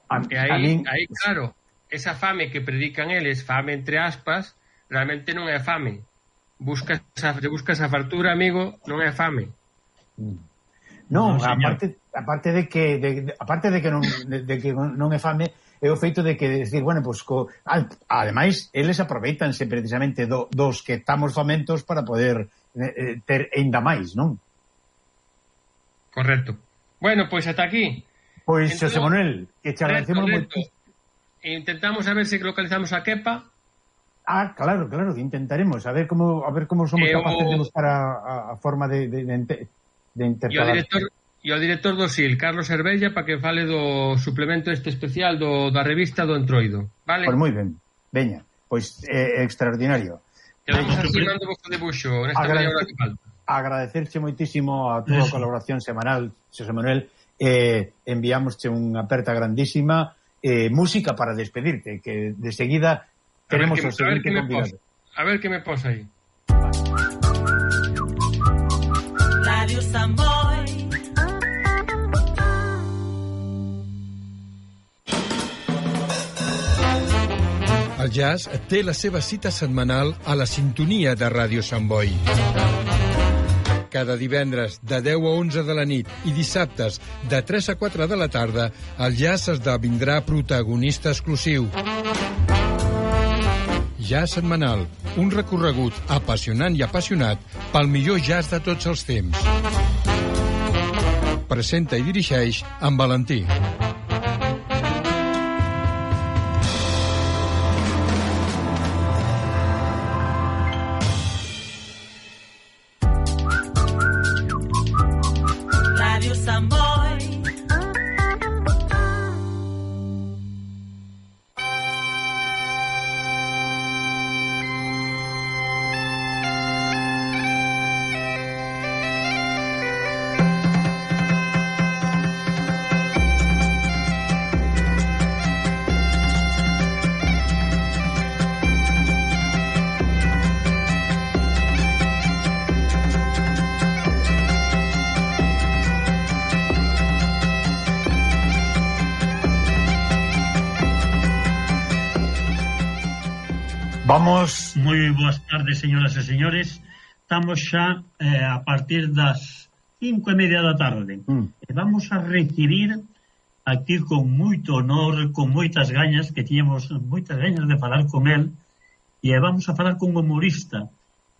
A, e aí, min... aí, claro, esa fame que predican eles, fame entre aspas, realmente non é fame. Buscas a, buscas a fartura, amigo, non é fame. Non, no, aparte, aparte de que de, aparte de que non de, de que non é fame, é o feito de que decir, bueno, pues, co, ademais, eles aproveitanse precisamente do, dos que estamos famentos para poder eh, ter ainda máis, non? Correcto. Bueno, pois pues ata aquí. Pois, pues, José Manuel, que te agradecemos moito. Intentamos a ver se localizamos a Kepa. Ah, claro, claro, intentaremos a ver como a ver como somos eh, capaces o... de buscar a, a forma de de, de, de intercalar. E o director E o director do S I L, Carlos Hervella, para que fale do suplemento este especial do, da revista do Entroido. Vale? Pois moi ben. Veña, pois é eh, extraordinario. Quedamos así, mando vos o debuxo nesta media hora que falta. agradecerche moitísimo a túa colaboración semanal, Xosé Manuel, eh, enviámosche unha aperta grandísima, eh, música para despedirte, que de seguida tenemos o seguinte convidado. A ver que me posa aí. Radio Samboy. El jazz té la seva cita setmanal a la sintonia de Ràdio Sant Boi. Cada divendres de deu a onze de la nit i dissabtes de tres a quatre de la tarda, el jazz esdevindrà protagonista exclusiu. Jazz setmanal, un recorregut apassionant i apassionat pel millor jazz de tots els temps. Presenta i dirigeix en Valentí. Vamos... Moi boas tardes, señoras e señores. Estamos xa eh, a partir das cinco e media da tarde. Mm. E vamos a recibir aquí con moito honor, con moitas gañas, que tiñamos moitas gañas de falar con el, e vamos a falar con un humorista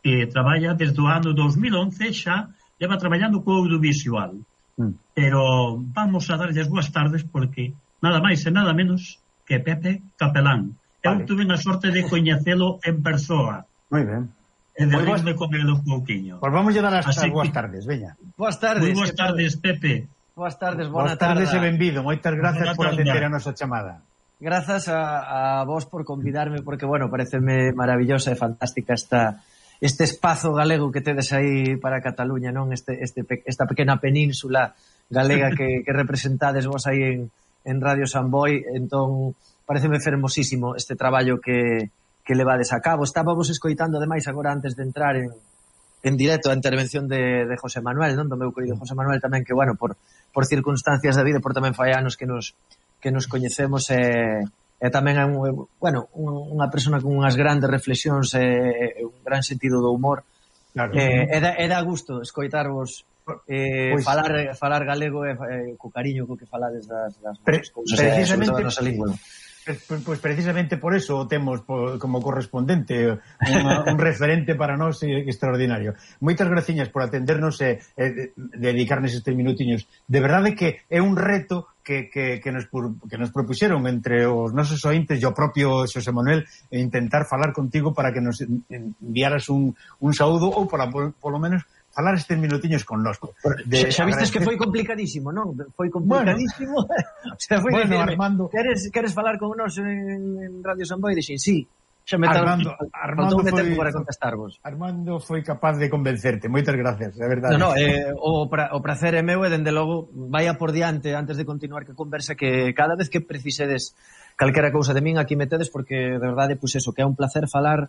que traballa desde o ano dos mil once, xa leva traballando co audiovisual. Mm. Pero vamos a darlle as boas tardes porque nada máis e nada menos que Pepe Capelán. Eu vale. tuve a sorte de coñecelo en persoa. Moi ben. E de rirme con el un pouquiño. Pois vamos a dar as boas tardes, veña. Boas tardes. Moi boas tardes, Pepe. Boas tardes, boa tarde. Boas tardes e benvido. Moitas grazas por atender a nosa chamada. Grazas a, a vos por convidarme, porque, bueno, pareceme maravillosa e fantástica esta este espazo galego que tedes aí para Cataluña, non? Este, este, esta pequena península galega que, que representades vos aí en, en Radio San Boi. Entón, pareceme fermosísimo este traballo que, que levades a cabo. Estábamos escoitando, ademais, agora antes de entrar en, en directo a intervención de, de José Manuel, non? Do meu querido José Manuel tamén, que, bueno, por, por circunstancias da vida, por tamén fai anos que nos, que nos coñecemos, e, e tamén é un, bueno, unha persona con unhas grandes reflexións e, e un gran sentido do humor. Claro. E, e, da, e da gusto escoitarvos eh, pues, falar, falar galego e, e co cariño co que falades das, das pre, cousas, precisamente, e, nosa lingua. Pois precisamente por eso o temos como correspondente unha, un referente para nós extraordinario. Moitas graciñas por atendernos e, e dedicarnos estes minutiños. De verdade que é un reto que, que, que, nos, que nos propuxeron entre os nosos ointes e o propio Xosé Manuel e intentar falar contigo para que nos enviaras un, un saúdo ou para, polo menos, falar estes minutiños connosco. De, xa vistes que foi complicadísimo, non? Foi complicadísimo. Bueno, o sea, foi bueno, decirme, Armando... Queres, queres falar con nós en, en Radio San Boi? Dixen, sí. Xa me Armando, Armando foi, tempo para contestarvos. Armando foi capaz de convencerte. Moitas gracias, é verdade. No, no, eh, o, pra, o prazer é meu e, dende logo, vaya por diante, antes de continuar que conversa, que cada vez que precisedes calquera cousa de min, aquí metedes, porque, de verdade, pois eso, que é un placer falar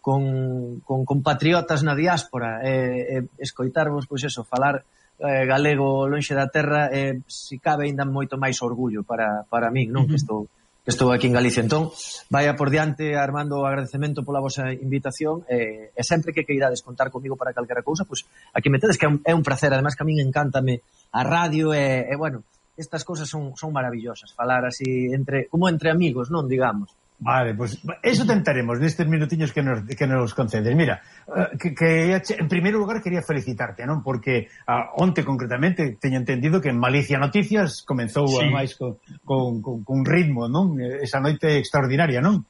con, con compatriotas na diáspora e, e escoitarvos, pois eso, falar eh, galego lonxe da terra, e, si cabe, ainda moito máis orgullo para, para min, non? Uh-huh. Que estou que estou aquí en Galicia. Entón, vaya por diante, Armando, o agradecemento pola vosa invitación, e, e sempre que queirades contar comigo para calquera cousa, pois aquí metedes, que é un, é un placer. Además, que a min encántame a radio e, e bueno, estas cousas son, son maravillosas, falar así entre como entre amigos, non, digamos. Vale, pois pues, eso tentaremos nestes minutiños que nos, que nos concedes. Mira, uh, que, que en primeiro lugar quería felicitarte, non? Porque uh, onte concretamente teño entendido que en Malicia Noticias comenzou sí. ademais con, con, con, con ritmo, non? Esa noite extraordinaria, non?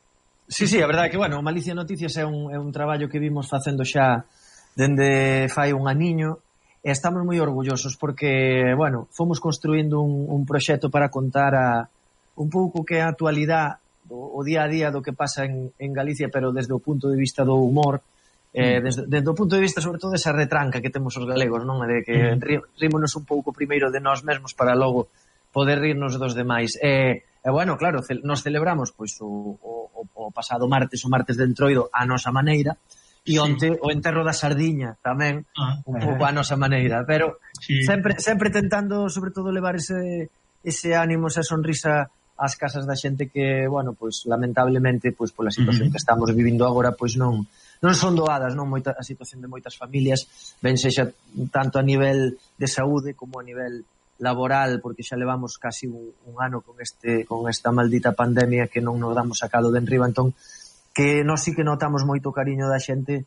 Sí, sí, a verdade que, bueno, Malicia Noticias é un, é un traballo que vimos facendo xa dende fai un aniño, e estamos moi orgullosos porque, bueno, fomos construindo un, un proxecto para contar a un pouco que a actualidade o día a día do que pasa en, en Galicia, pero desde o punto de vista do humor, Eh, desde, desde o punto de vista, sobre todo, desa retranca que temos os galegos, non? De que uh-huh. rímonos un pouco primeiro de nós mesmos para logo poder rirnos dos demais. E, e bueno, claro, ce, nos celebramos pois o, o, o pasado martes, o martes de Entroido, a nosa maneira, e onte sí. o enterro da sardiña tamén, ah, un pouco a nosa maneira, pero sí. sempre sempre tentando, sobre todo, levar ese, ese ánimo, esa sonrisa ás casas da xente que, bueno, pois lamentablemente, pois pola situación uh-huh. que estamos vivindo agora, pois non non son doadas, non, moita a situación de moitas familias, ben sexa tanto a nivel de saúde como a nivel laboral, porque xa levamos casi un, un ano con este con esta maldita pandemia que non nos damos sacado de enriba, entón que nós sí que notamos moito cariño da xente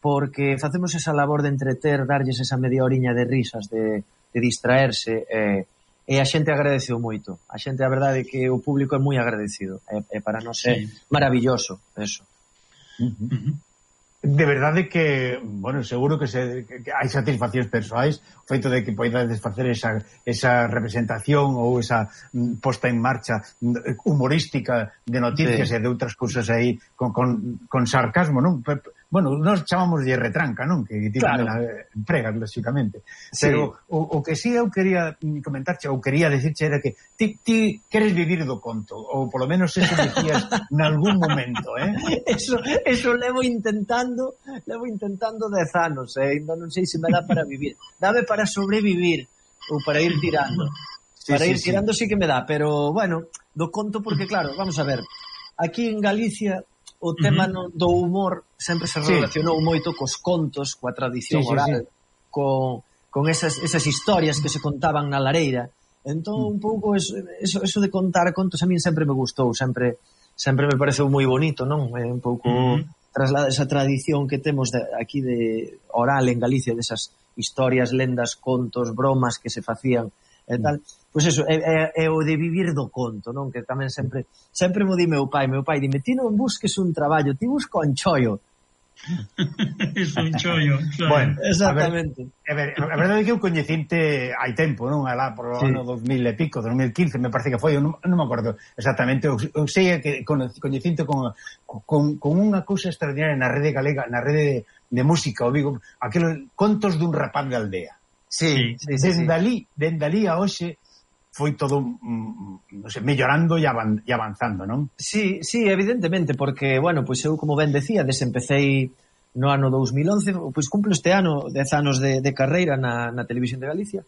porque facemos esa labor de entreter, darlles esa media horiña de risas, de, de distraerse, e, e a xente agradeceu moito. A xente, a verdade, é que o público é moi agradecido, e, e para nós é sí. maravilloso, eso. Uh-huh. Uh-huh. De verdade que, bueno, seguro que, se, que hai satisfaccións persoais, o feito de que poidades facer esa, esa representación ou esa posta en marcha humorística de noticias sí. e de outras cousas aí con, con, con sarcasmo, non? Bueno, nós chamamos de retranca, non? Que ti claro. tamén empregas, lógicamente. Sí. Pero o, o que sí eu quería comentarche, ou quería decirche era que ti, ti queres vivir do conto, ou polo menos eso decías nalgún momento, eh? Eso, eso levo intentando, levo intentando dez anos, eh? Ainda non sei se me dá para vivir. Dame para sobrevivir, ou para ir tirando. Sí, para sí, ir tirando sí. sí que me dá, pero, bueno, do conto porque, claro, vamos a ver, aquí en Galicia o tema uh-huh. no, do humor sempre se relacionou sí. moito cos contos, coa tradición sí, sí, oral, sí. con, con esas, esas historias que se contaban na lareira. Entón, uh-huh. un pouco eso, eso, eso de contar contos a min sempre me gustou, sempre sempre me pareceu moi bonito, non? É un pouco uh-huh. traslada esa tradición que temos de, aquí de oral en Galicia, desas historias, lendas, contos, bromas que se facían e tal. Pois eso, é, é, é o de vivir do conto, non? Que tamén sempre sempre mo di meu pai, meu pai dime, ti non busques un traballo, ti busca un chollo. Es un chollo, chollo. Bueno, exactamente. A ver, a, ver, a verdade é que eu coñecinte hai tempo, non? Alá por o sí. ano dos mil e pico, dos mil quince, me parece que foi, eu non, non me acordo exactamente, eu, eu sei que coñecinte con, con, con unha cousa extraordinaria na rede galega, na rede de, de música, o digo, aqueles contos dun rapaz de aldea. Sí, sí, sí, dende sí. ali, dende ali a hoxe foi todo, non sei, mellorando e avanzando, non? Sí, sí, evidentemente, porque, bueno, pois eu, como ben decía, desempecei no ano dos mil once, pois cumplo este ano dez anos de, de carreira na, na Televisión de Galicia,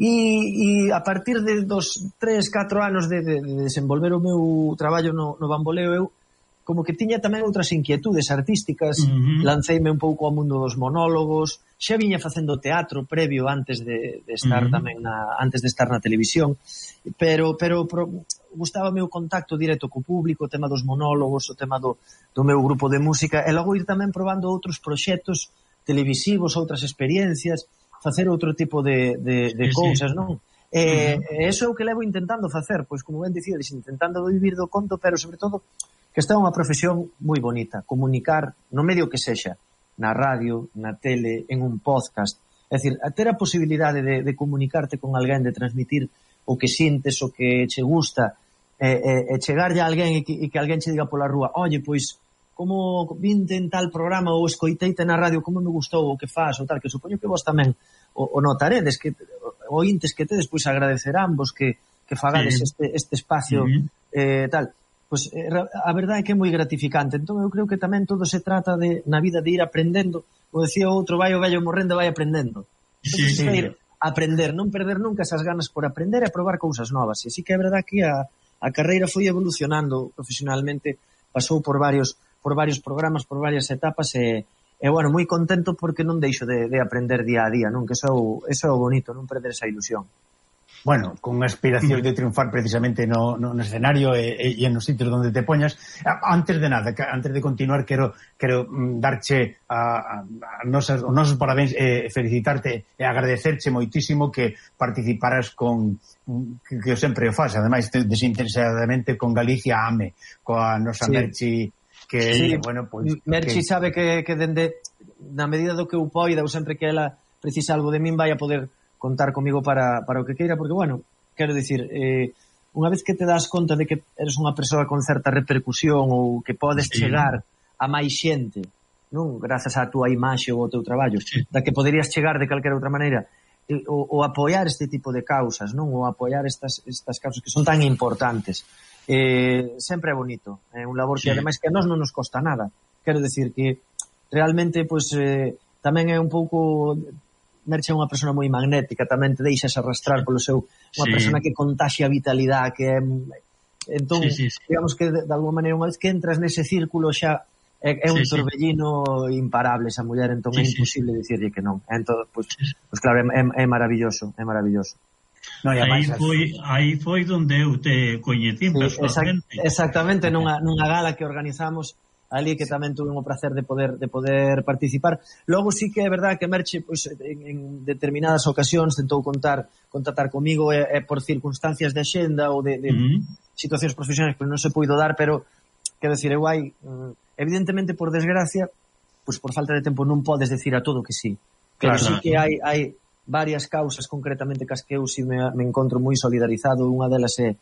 e, e a partir de dos tres, catro anos de, de, de desenvolver o meu traballo no, no bamboleo, eu como que tiña tamén outras inquietudes artísticas, uh-huh. lanceime un pouco ao mundo dos monólogos, xa viña facendo teatro previo antes de, de estar uh-huh. tamén na, antes de estar na televisión, pero pero pro, gustábame o contacto directo co público, o tema dos monólogos, o tema do, do meu grupo de música, e logo ir tamén probando outros proxectos televisivos, outras experiencias, facer outro tipo de, de, de sí, cousas, sí. non? E, uh-huh. e eso é o que levo intentando facer, pois como ben dicía, intentando vivir do conto, pero sobre todo que esta é unha profesión moi bonita, comunicar no medio que sexa, na radio, na tele, en un podcast, é dicir, a ter a posibilidade de, de comunicarte con alguén, de transmitir o que sintes, o que che gusta, e, e, e chegarlle a alguén e que, e que alguén che diga pola rúa, oye, pois, como vinte en tal programa ou escoiteite na radio, como me gustou o que faz, ou tal, que supoño que vos tamén o, o notaredes, que ointes que tedes, pois agradecerán vos que, que fagades sí. este, este espacio, uh-huh. eh, tal. Pois a verdade é que é moi gratificante. Entón eu creo que tamén todo se trata de na vida de ir aprendendo. O decía outro, vai o vello morrendo, vai aprendendo. Entón, sí, sí. Ir a aprender, non perder nunca esas ganas por aprender e a probar cousas novas. E así que é verdade que a, a carreira foi evolucionando profesionalmente, pasou por varios por varios programas, por varias etapas e, e bueno, moi contento porque non deixo de, de aprender día a día, non? Que eso é o, eso é o bonito, non perder esa ilusión. Bueno, con aspiracións de triunfar precisamente no, no, no escenario e, e, e nos sitios onde te poñas. Antes de nada, antes de continuar, quero, quero darche a, a, a nosas, os nosos parabéns e felicitarte e agradecerche moitísimo que participaras con que, que eu sempre o faz, ademais desinteresadamente con Galicia Ame, coa nosa sí. Merchi que, sí. bueno, pues, Merchi que... sabe que, que dende na medida do que eu poida ou sempre que ela precisa algo de min vai a poder contar comigo para, para o que queira, porque, bueno, quero dicir, eh, unha vez que te das conta de que eres unha persoa con certa repercusión ou que podes sí. chegar a máis xente non? Grazas á túa imaxe ou ao teu traballo, sí. Da que poderías chegar de calquera outra maneira, o, o apoiar este tipo de causas, non? O apoiar estas, estas causas que son tan importantes. Eh, sempre é bonito, é un labor que, sí. Ademais, que a nós non nos costa nada. Quero decir que realmente, pois, eh, tamén é un pouco... Merche é unha persona moi magnética, tamén te deixas arrastrar polo seu... Unha sí. Persona que contaxia vitalidade, que é... Entón, sí, sí, sí. Digamos que, de, de alguma maneira, unha vez que entras nese círculo xa é, é un sí, torbellino sí. Imparable esa muller, entón sí, é imposible sí. Dicirlle que non. Entón, pois, pues, pues, claro, é, é maravilloso, é maravilloso. No, aí, máis, foi, aí foi donde eu te coñecín sí, personalmente. Exact, exactamente, nunha, nunha gala que organizamos ali que tamén tuve o placer de poder de poder participar. Logo sí que é verdade que Merche pois, en, en determinadas ocasións tentou contar contactar comigo e, e por circunstancias de axenda ou de, de uh-huh. situacións profesionais que non se puido dar, pero quero decir, eu hai evidentemente por desgracia, pois por falta de tempo non podes decir a todo que sí. Pero claro, sí que hai hai varias causas concretamente cas que eu si me, me encontro moi solidarizado. Unha delas é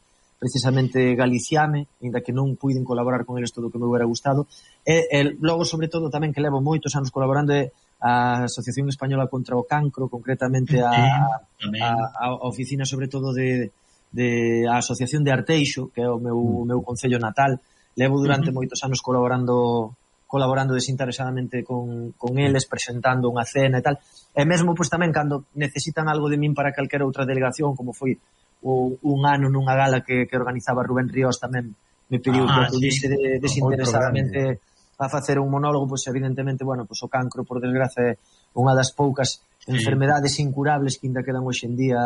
precisamente Galiciame, ainda que non puiden colaborar con eles todo o que me hubiera gustado, e, e logo, sobre todo, tamén que levo moitos anos colaborando é a Asociación Española contra o Cancro, concretamente a, a, a oficina, sobre todo, de, de a Asociación de Arteixo, que é o meu, mm. meu concello natal. Levo durante mm-hmm. moitos anos colaborando colaborando desinteresadamente con, con eles, presentando unha cena e tal, e mesmo, pois, tamén, cando necesitan algo de min para calquera outra delegación, como foi o, un ano nunha gala que, que organizaba Rubén Ríos, tamén me pediu ah, que acudiese sí. de, desinteresadamente a facer un monólogo, pois evidentemente, bueno, pois o cancro, por desgracia, é unha das poucas sí. enfermedades incurables que ainda quedan hoxe en día,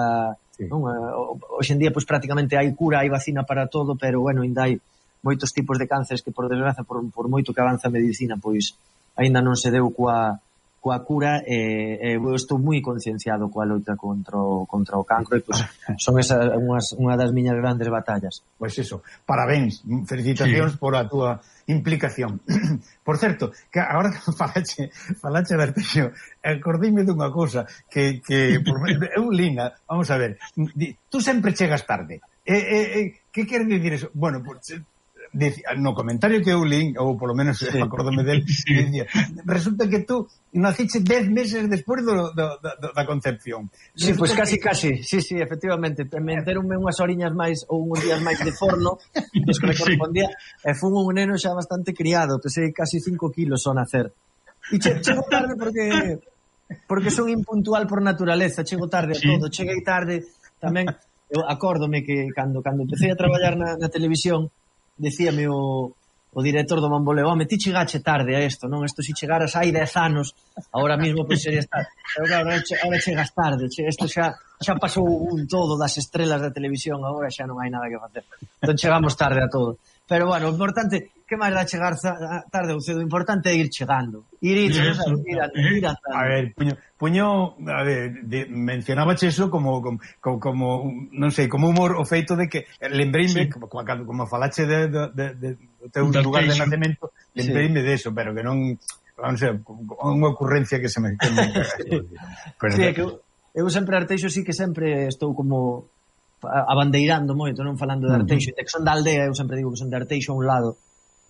sí. non? Hoxe en día, pois prácticamente hai cura, hai vacina para todo, pero bueno, ainda hai moitos tipos de cánceres que, por desgracia, por, por moito que avanza a medicina, pois aínda non se deu coa coa cura, e eh, eu estou moi concienciado coa loita contra o, contra o cancro, e pois, son esas unhas, unha das miñas grandes batallas. Pois eso, parabéns, felicitacións sí. por a túa implicación. Por certo, que agora que falache, falache de Arteixo, acordeime dunha cousa que, que por, eu linha, vamos a ver, tú sempre chegas tarde. Eh, eh, eh, que quere dicir eso? Bueno, pues, no comentario que eu lín, ou polo menos sí. acordome del, sí. dicía, resulta que tú naciche dez meses despois do, do, do, da concepción. Sí, pois pues casi, que... casi, sí, sí, efectivamente, me enteronme unhas oriñas máis ou uns días máis de forno dos que me correspondía, sí. e fun un neno xa bastante criado, pesei casi cinco kilos ao nacer. E che, chego tarde porque porque son impuntual por naturaleza, chego tarde a sí. todo, cheguei tarde tamén. Eu acórdome que cando cando empecé a traballar na, na televisión, decíame o, o director do Mamboleo, home, ti chegache tarde a isto, non? Isto si chegaras hai dez anos, agora mesmo pois sería estar. Pero claro, agora chegas tarde, che, isto xa, xa pasou un todo das estrelas da televisión, agora xa non hai nada que facer. Entón chegamos tarde a todo. Pero bueno, o importante, que máis dá chegar tarde ou cedo, o importante é ir chegando. Ir, ir, ir, ir, ir, ir a ver, puño, puño a ver, de, mencionabache eso como, como, como, non sei, como humor o feito de que, lembreime, sí. como, como, como falache de, de, de, de, de teu de lugar de nacemento, lembreime sí. de eso, pero que non, non sei, unha ocurrencia que se me... Que me pero, sí, é que eu, eu sempre Arteixo sí que sempre estou como abandeirando moito, non falando de Arteixo, uh-huh. que son da aldea, eu sempre digo que son de Arteixo a un lado,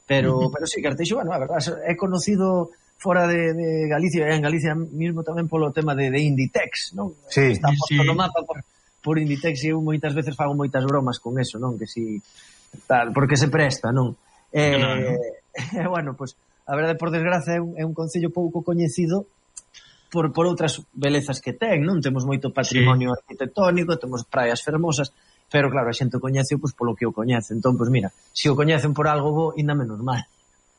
pero uh-huh. pero sí que Arteixo, bueno, a verdade, é conocido fora de, de Galicia, e en Galicia mismo tamén polo tema de, de Inditex, non? Sí, está posto sí. no mapa por, por Inditex, e eu moitas veces fago moitas bromas con eso, non? Que si tal, porque se presta, non? Eh, claro. Bueno, pois, pues, a verdade, por desgracia, é un, é un concello pouco coñecido por, por outras belezas que ten, non? Temos moito patrimonio sí. arquitectónico, temos praias fermosas, pero claro, a xente o coñece pois, polo que o coñece. Entón, pois mira, se o coñecen por algo bo, ainda menos mal.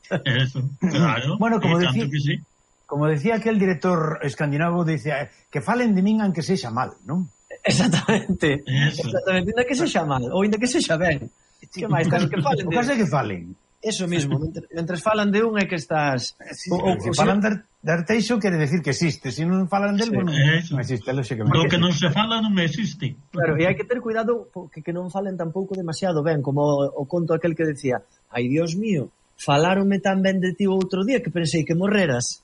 Eso, claro. Bueno, como decía, que sí. como decía aquel director escandinavo, dice, que falen de min aunque sexa mal, non? Exactamente. Eso. Exactamente, ainda que sexa mal, ou ainda que sexa ben. Que máis, que falen de... O caso é que falen. Eso mismo, mentre, mentre falan de un é que estás... Sí, o, o, se o falan de, de Arteixo quere decir que existe, se non falan del, sí, non, non existe, lóxicamente. Lo que non se fala non existe. Claro, e hai que ter cuidado porque que non falen tampouco demasiado ben, como o, o conto aquel que decía, ai, Dios mío, faláronme tan ben de ti outro día que pensei que morreras.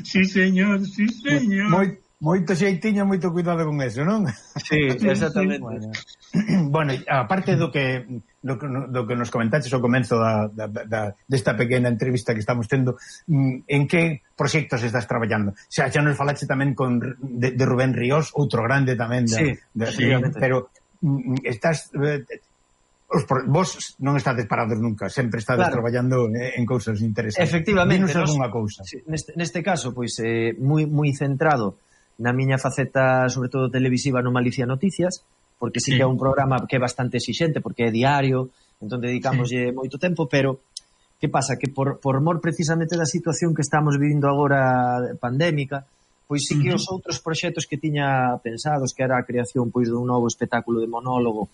Sí, señor, sí, señor. Moi, moito xeitiño, moito cuidado con eso, non? Sí, exactamente. Bueno. Bueno, aparte do que do, do que nos comentaches ao comenzo da, da, da, desta pequena entrevista que estamos tendo, en que proxectos estás traballando? Xa, xa nos falache tamén con de, de Rubén Ríos, outro grande tamén da, sí, de, sí, de, pero estás os, vos non estades parados nunca, sempre estades claro. traballando en cousas interesantes. Efectivamente. Dinos algunha cousa. Sí, neste, neste caso, pois, eh, moi, moi centrado na miña faceta, sobre todo televisiva, no Malicia Noticias, porque sí, sí que é un programa que é bastante exixente, porque é diario, entón dedicámoslle sí. moito tempo, pero que pasa? Que por, por mor precisamente da situación que estamos vivindo agora pandémica, pois sí que uh -huh. os outros proxectos que tiña pensados, que era a creación pois dun novo espectáculo de monólogo,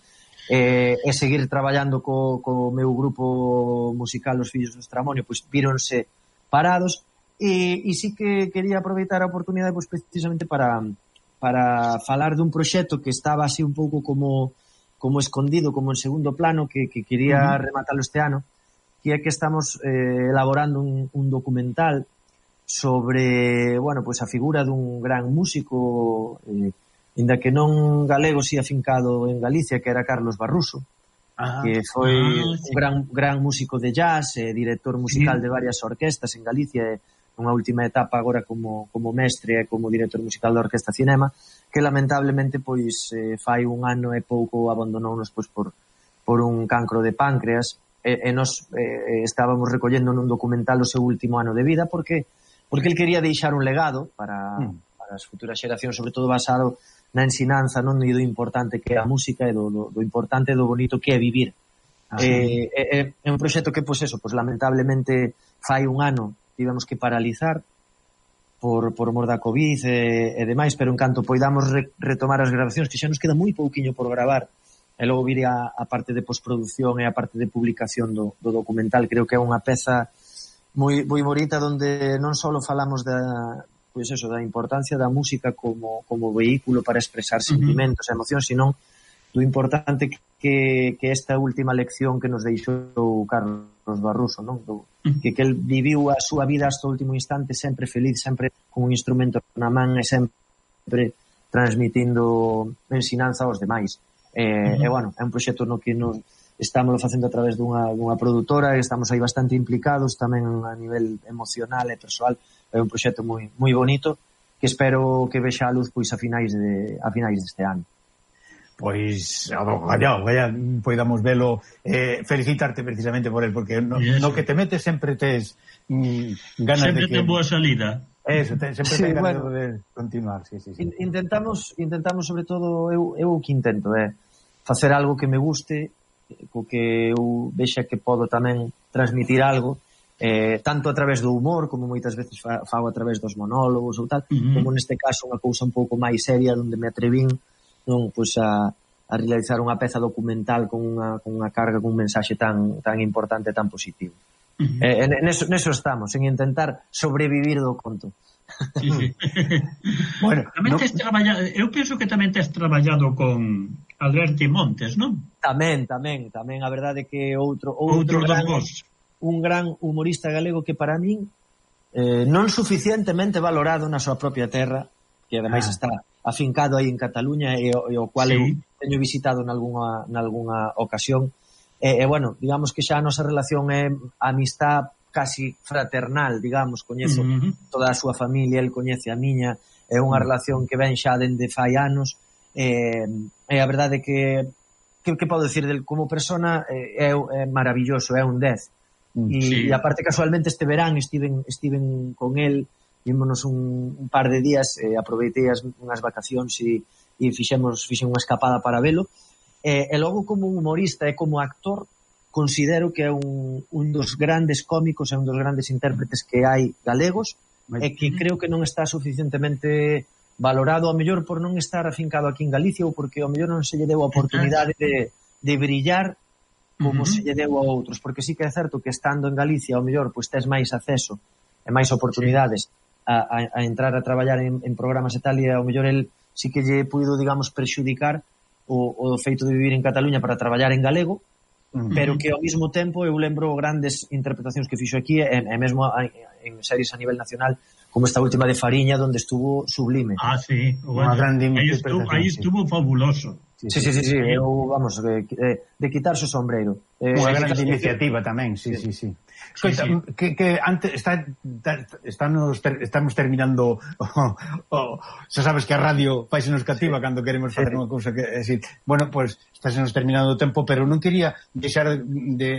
eh, e seguir traballando co, co meu grupo musical Os Fillos do Estramonio, pois víronse parados, e, e sí que quería aproveitar a oportunidade pois precisamente para... para falar dun proxecto que estaba así un pouco como como escondido, como en segundo plano, que, que quería uh -huh. rematarlo este ano, que é que estamos eh, elaborando un, un documental sobre, bueno, pues a figura dun gran músico, eh, inda que non galego, si afincado en Galicia, que era Carlos Barruso, ah, que foi ah, sí. un gran, gran músico de jazz, eh, director musical sí. de varias orquestas en Galicia, e unha última etapa agora como, como mestre e como director musical da Orquesta Cinema, que lamentablemente pois eh, fai un ano e pouco abandonounos pois por, por un cancro de páncreas, e, e nos eh, estábamos recollendo nun documental o seu último ano de vida, porque porque el quería deixar un legado para, mm. para as futuras xeracións, sobre todo basado na ensinanza, non, e do importante que é a música e do, do, do importante e do bonito que é vivir. Ah, eh, é, é un proxecto que, pois eso, pois lamentablemente fai un ano tivemos que paralizar por, por mor da COVID e, e demais, pero en canto poidamos re, retomar as grabacións, que xa nos queda moi pouquiño por gravar, e logo viría a, a parte de postproducción e a parte de publicación do, do documental. Creo que é unha peza moi, moi bonita, donde non só falamos da, pois eso, da importancia da música como, como vehículo para expresar sentimentos e emocións, sino do importante que, que esta última lección que nos deixou Carlos Barruso, non? Do, que, que el viviu a súa vida hasta o último instante sempre feliz, sempre con un instrumento na man e sempre transmitindo ensinanza aos demais. E, uh -huh. e bueno, é un proxecto no que nos estamos facendo a través dunha, dunha produtora, e estamos aí bastante implicados tamén a nivel emocional e persoal. É un proxecto moi moi bonito que espero que vexa a luz pois a finais de a finais deste ano. Pois, allá, allá podamos velo, eh, felicitarte precisamente por él, porque no, no que te metes sempre tes mm, ganas sempre de que... ten boa salida. Eso, te, sempre sí, ten ganas bueno, de continuar, sí, sí, sí. Intentamos, intentamos sobre todo, eu, eu o que intento é eh, facer algo que me guste, co que eu vexa que podo tamén transmitir algo, eh, tanto a través do humor, como moitas veces fa, fago a través dos monólogos ou tal, uh -huh. como neste caso unha cousa un pouco máis seria, onde me atrevín non, pois a, a realizar unha peza documental con unha, con unha carga, con un mensaxe tan, tan importante, tan positivo. Uh -huh. eh, neso, neso estamos, en intentar sobrevivir do conto. Sí, sí. Bueno, tamén no... tes traballado, eu penso que tamén tes traballado con Alberto Montes, non? Tamén, tamén, tamén, a verdade que outro outro, outro gran, un gran humorista galego que para min eh, non suficientemente valorado na súa propia terra, que ademais ah. está afincado aí en Cataluña, e, e o cual sí. eu teño visitado nalgúna, nalgúna ocasión, e, e bueno, digamos que xa a nosa relación é amistad casi fraternal, digamos, coñezo uh -huh. toda a súa familia, el coñece a miña, é unha uh -huh. relación que ven xa dende fai anos, e, e a verdade que que, que podo decir del como persona é, é maravilloso, é un dez, uh -huh. e, sí. e aparte casualmente este verán estiven, estiven con el, vímonos un, un par de días, eh, aproveitei as, unhas vacacións e, e fixemos, fixen unha escapada para velo, e, e logo como humorista e como actor considero que é un, un dos grandes cómicos e un dos grandes intérpretes que hai galegos, e que creo que non está suficientemente valorado, ao mellor por non estar afincado aquí en Galicia, ou porque ao mellor non se lle deu a oportunidade de, de brillar como uh -huh. se lle deu a outros, porque sí que é certo que estando en Galicia ao mellor pois tes máis acceso e máis oportunidades sí. A, a, a entrar a traballar en, en programas e tal, e ao mellor el sí que lle puido, digamos, prexudicar o, o feito de vivir en Cataluña para traballar en galego, uh -huh. pero que ao mesmo tempo eu lembro grandes interpretacións que fixo aquí, e, e mesmo a, en series a nivel nacional, como esta última de Fariña, donde estuvo sublime. Ah, sí, bueno, aí estuvo, aí estuvo fabuloso. Sí, sí, sí, sí, sí. Eu, vamos, de, de quitarse o sombreiro. Eh, Unha grande iniciativa tamén, sí, sí, sí. Escoita, sí, sí. que, que antes está, está nos, ter, estamos terminando oh, oh, xa sabes que a radio faise nos cativa sí. cando queremos facer sí. unha cousa que, é decir, bueno, pues estáse nos terminando o tempo, pero non quería deixar de, de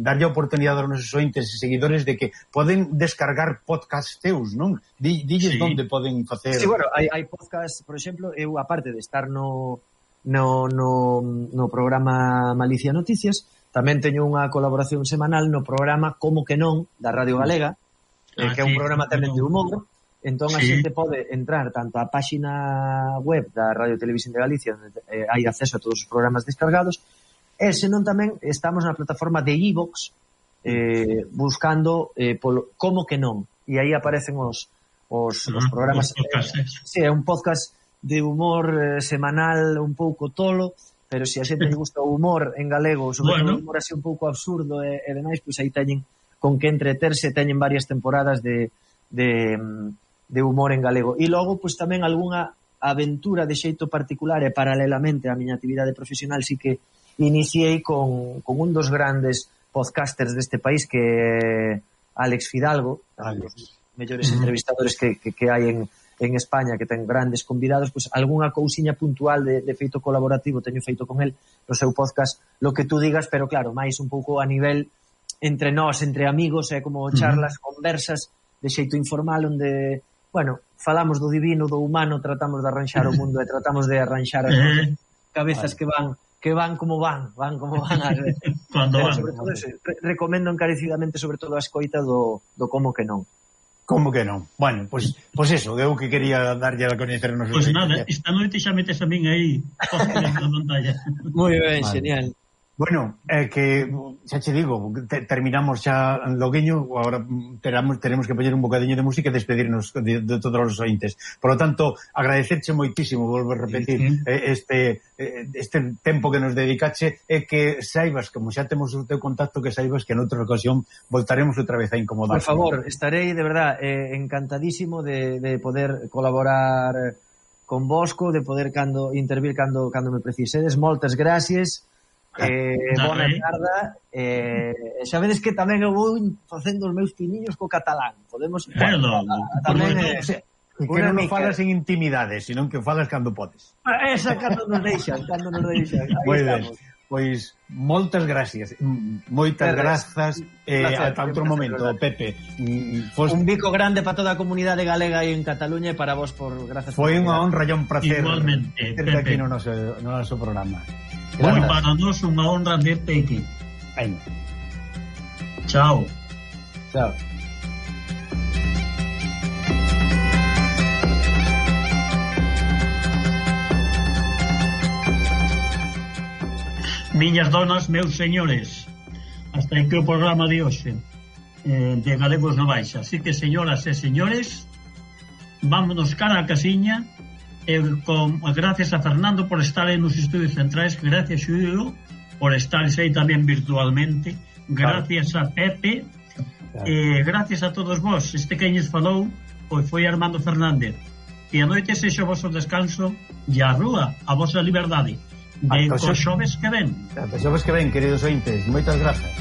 darlle a oportunidade aos nosos ointes e seguidores de que poden descargar podcast teus, non? Dilles sí. onde poden facer... Sí, bueno, hai, hai podcast, por exemplo, eu aparte de estar no no, no, no programa Malicia Noticias, tamén teño unha colaboración semanal no programa Como que non, da Radio Galega, ah, eh, que é un sí, programa tamén de humor. Entón sí. a xente pode entrar tanto á páxina web da Radio Televisión de Galicia, onde eh, hai acceso a todos os programas descargados, e senón tamén estamos na plataforma de iVox eh, buscando eh, polo Como que non, e aí aparecen os, os, uh -huh, os programas. Eh, sí, é un podcast de humor eh, semanal un pouco tolo, pero se a xente lle gusta o humor en galego, sobre bueno. todo o humor así un pouco absurdo e, e demais, pois aí teñen con que entreterse, teñen varias temporadas de, de, de humor en galego. E logo, pois tamén algunha aventura de xeito particular e paralelamente á miña actividade profesional sí que iniciei con, con un dos grandes podcasters deste país, que é Alex Fidalgo, Alex. Os mellores entrevistadores que, que, que hai en en España, que ten grandes convidados, pois algunha cousiña puntual de, de feito colaborativo teño feito con el no seu podcast, lo que tú digas, pero claro, máis un pouco a nivel entre nós, entre amigos, é como charlas, uh -huh. conversas de xeito informal, onde, bueno, falamos do divino, do humano, tratamos de arranxar o mundo e tratamos de arranxar as uh -huh. cabezas vale. que van que van como van, van como van a ver. Cando van. Sobre todo, eso, re recomendo encarecidamente sobre todo a escoita do, do Como que non. Como que non? Bueno, pois pues, pues eso, eu que quería darlle a coñecer a nosos... Pois pues nada, esta noite xa metes a min aí na pantalla. Moi ben, vale. Genial. Bueno, é eh, que xa che digo, te, terminamos xa logueño, agora teramos, teremos que poñer un bocadiño de música e despedirnos de, de todos os ointes. Por lo tanto, agradecerche moitísimo, volvo a repetir, sí, sí. Eh, este este tempo que nos dedicache, e que saibas, como xa temos o teu contacto, que saibas que en outra ocasión voltaremos outra vez a incomodar. Por favor, estarei de verdad eh, encantadísimo de, de poder colaborar con vosco, de poder cando intervir cando, cando me precisedes. Moltes gracias. Eh, bona tarda. Eh, xa vedes que tamén eu vou facendo os meus piniños co catalán. Podemos bueno, tamén eh, o sea, que non nos falas en intimidades, sino que falas cando podes. Esa cando nos deixan, cando nos deixan. Moi ben. Pois moitas gracias. Moitas grazas eh, ata outro momento, Pepe. Fos... Un bico grande para toda a comunidade galega aí en Cataluña e para vos por grazas. Foi unha honra e un placer. Igualmente, Pepe. Aquí no noso, no noso programa. Foi para nós unha honra verte aquí. Aí. Chao. Chao. Miñas donas, meus señores, hasta aquí o programa de hoxe eh, de Galegos no Baixa. Así que, señoras e señores, vámonos cara a casiña, eh, con, gracias a Fernando por estar en los estudios centrais, gracias Xulio por estar aí tamén virtualmente, gracias a Pepe, eh, gracias a todos vos. Este que nos falou pois foi Armando Fernández. E a noite sexa o vosso descanso e a rúa, a vosa liberdade. De cos xoves que ven. Ata xoves que ven, queridos ointes. Moitas grazas.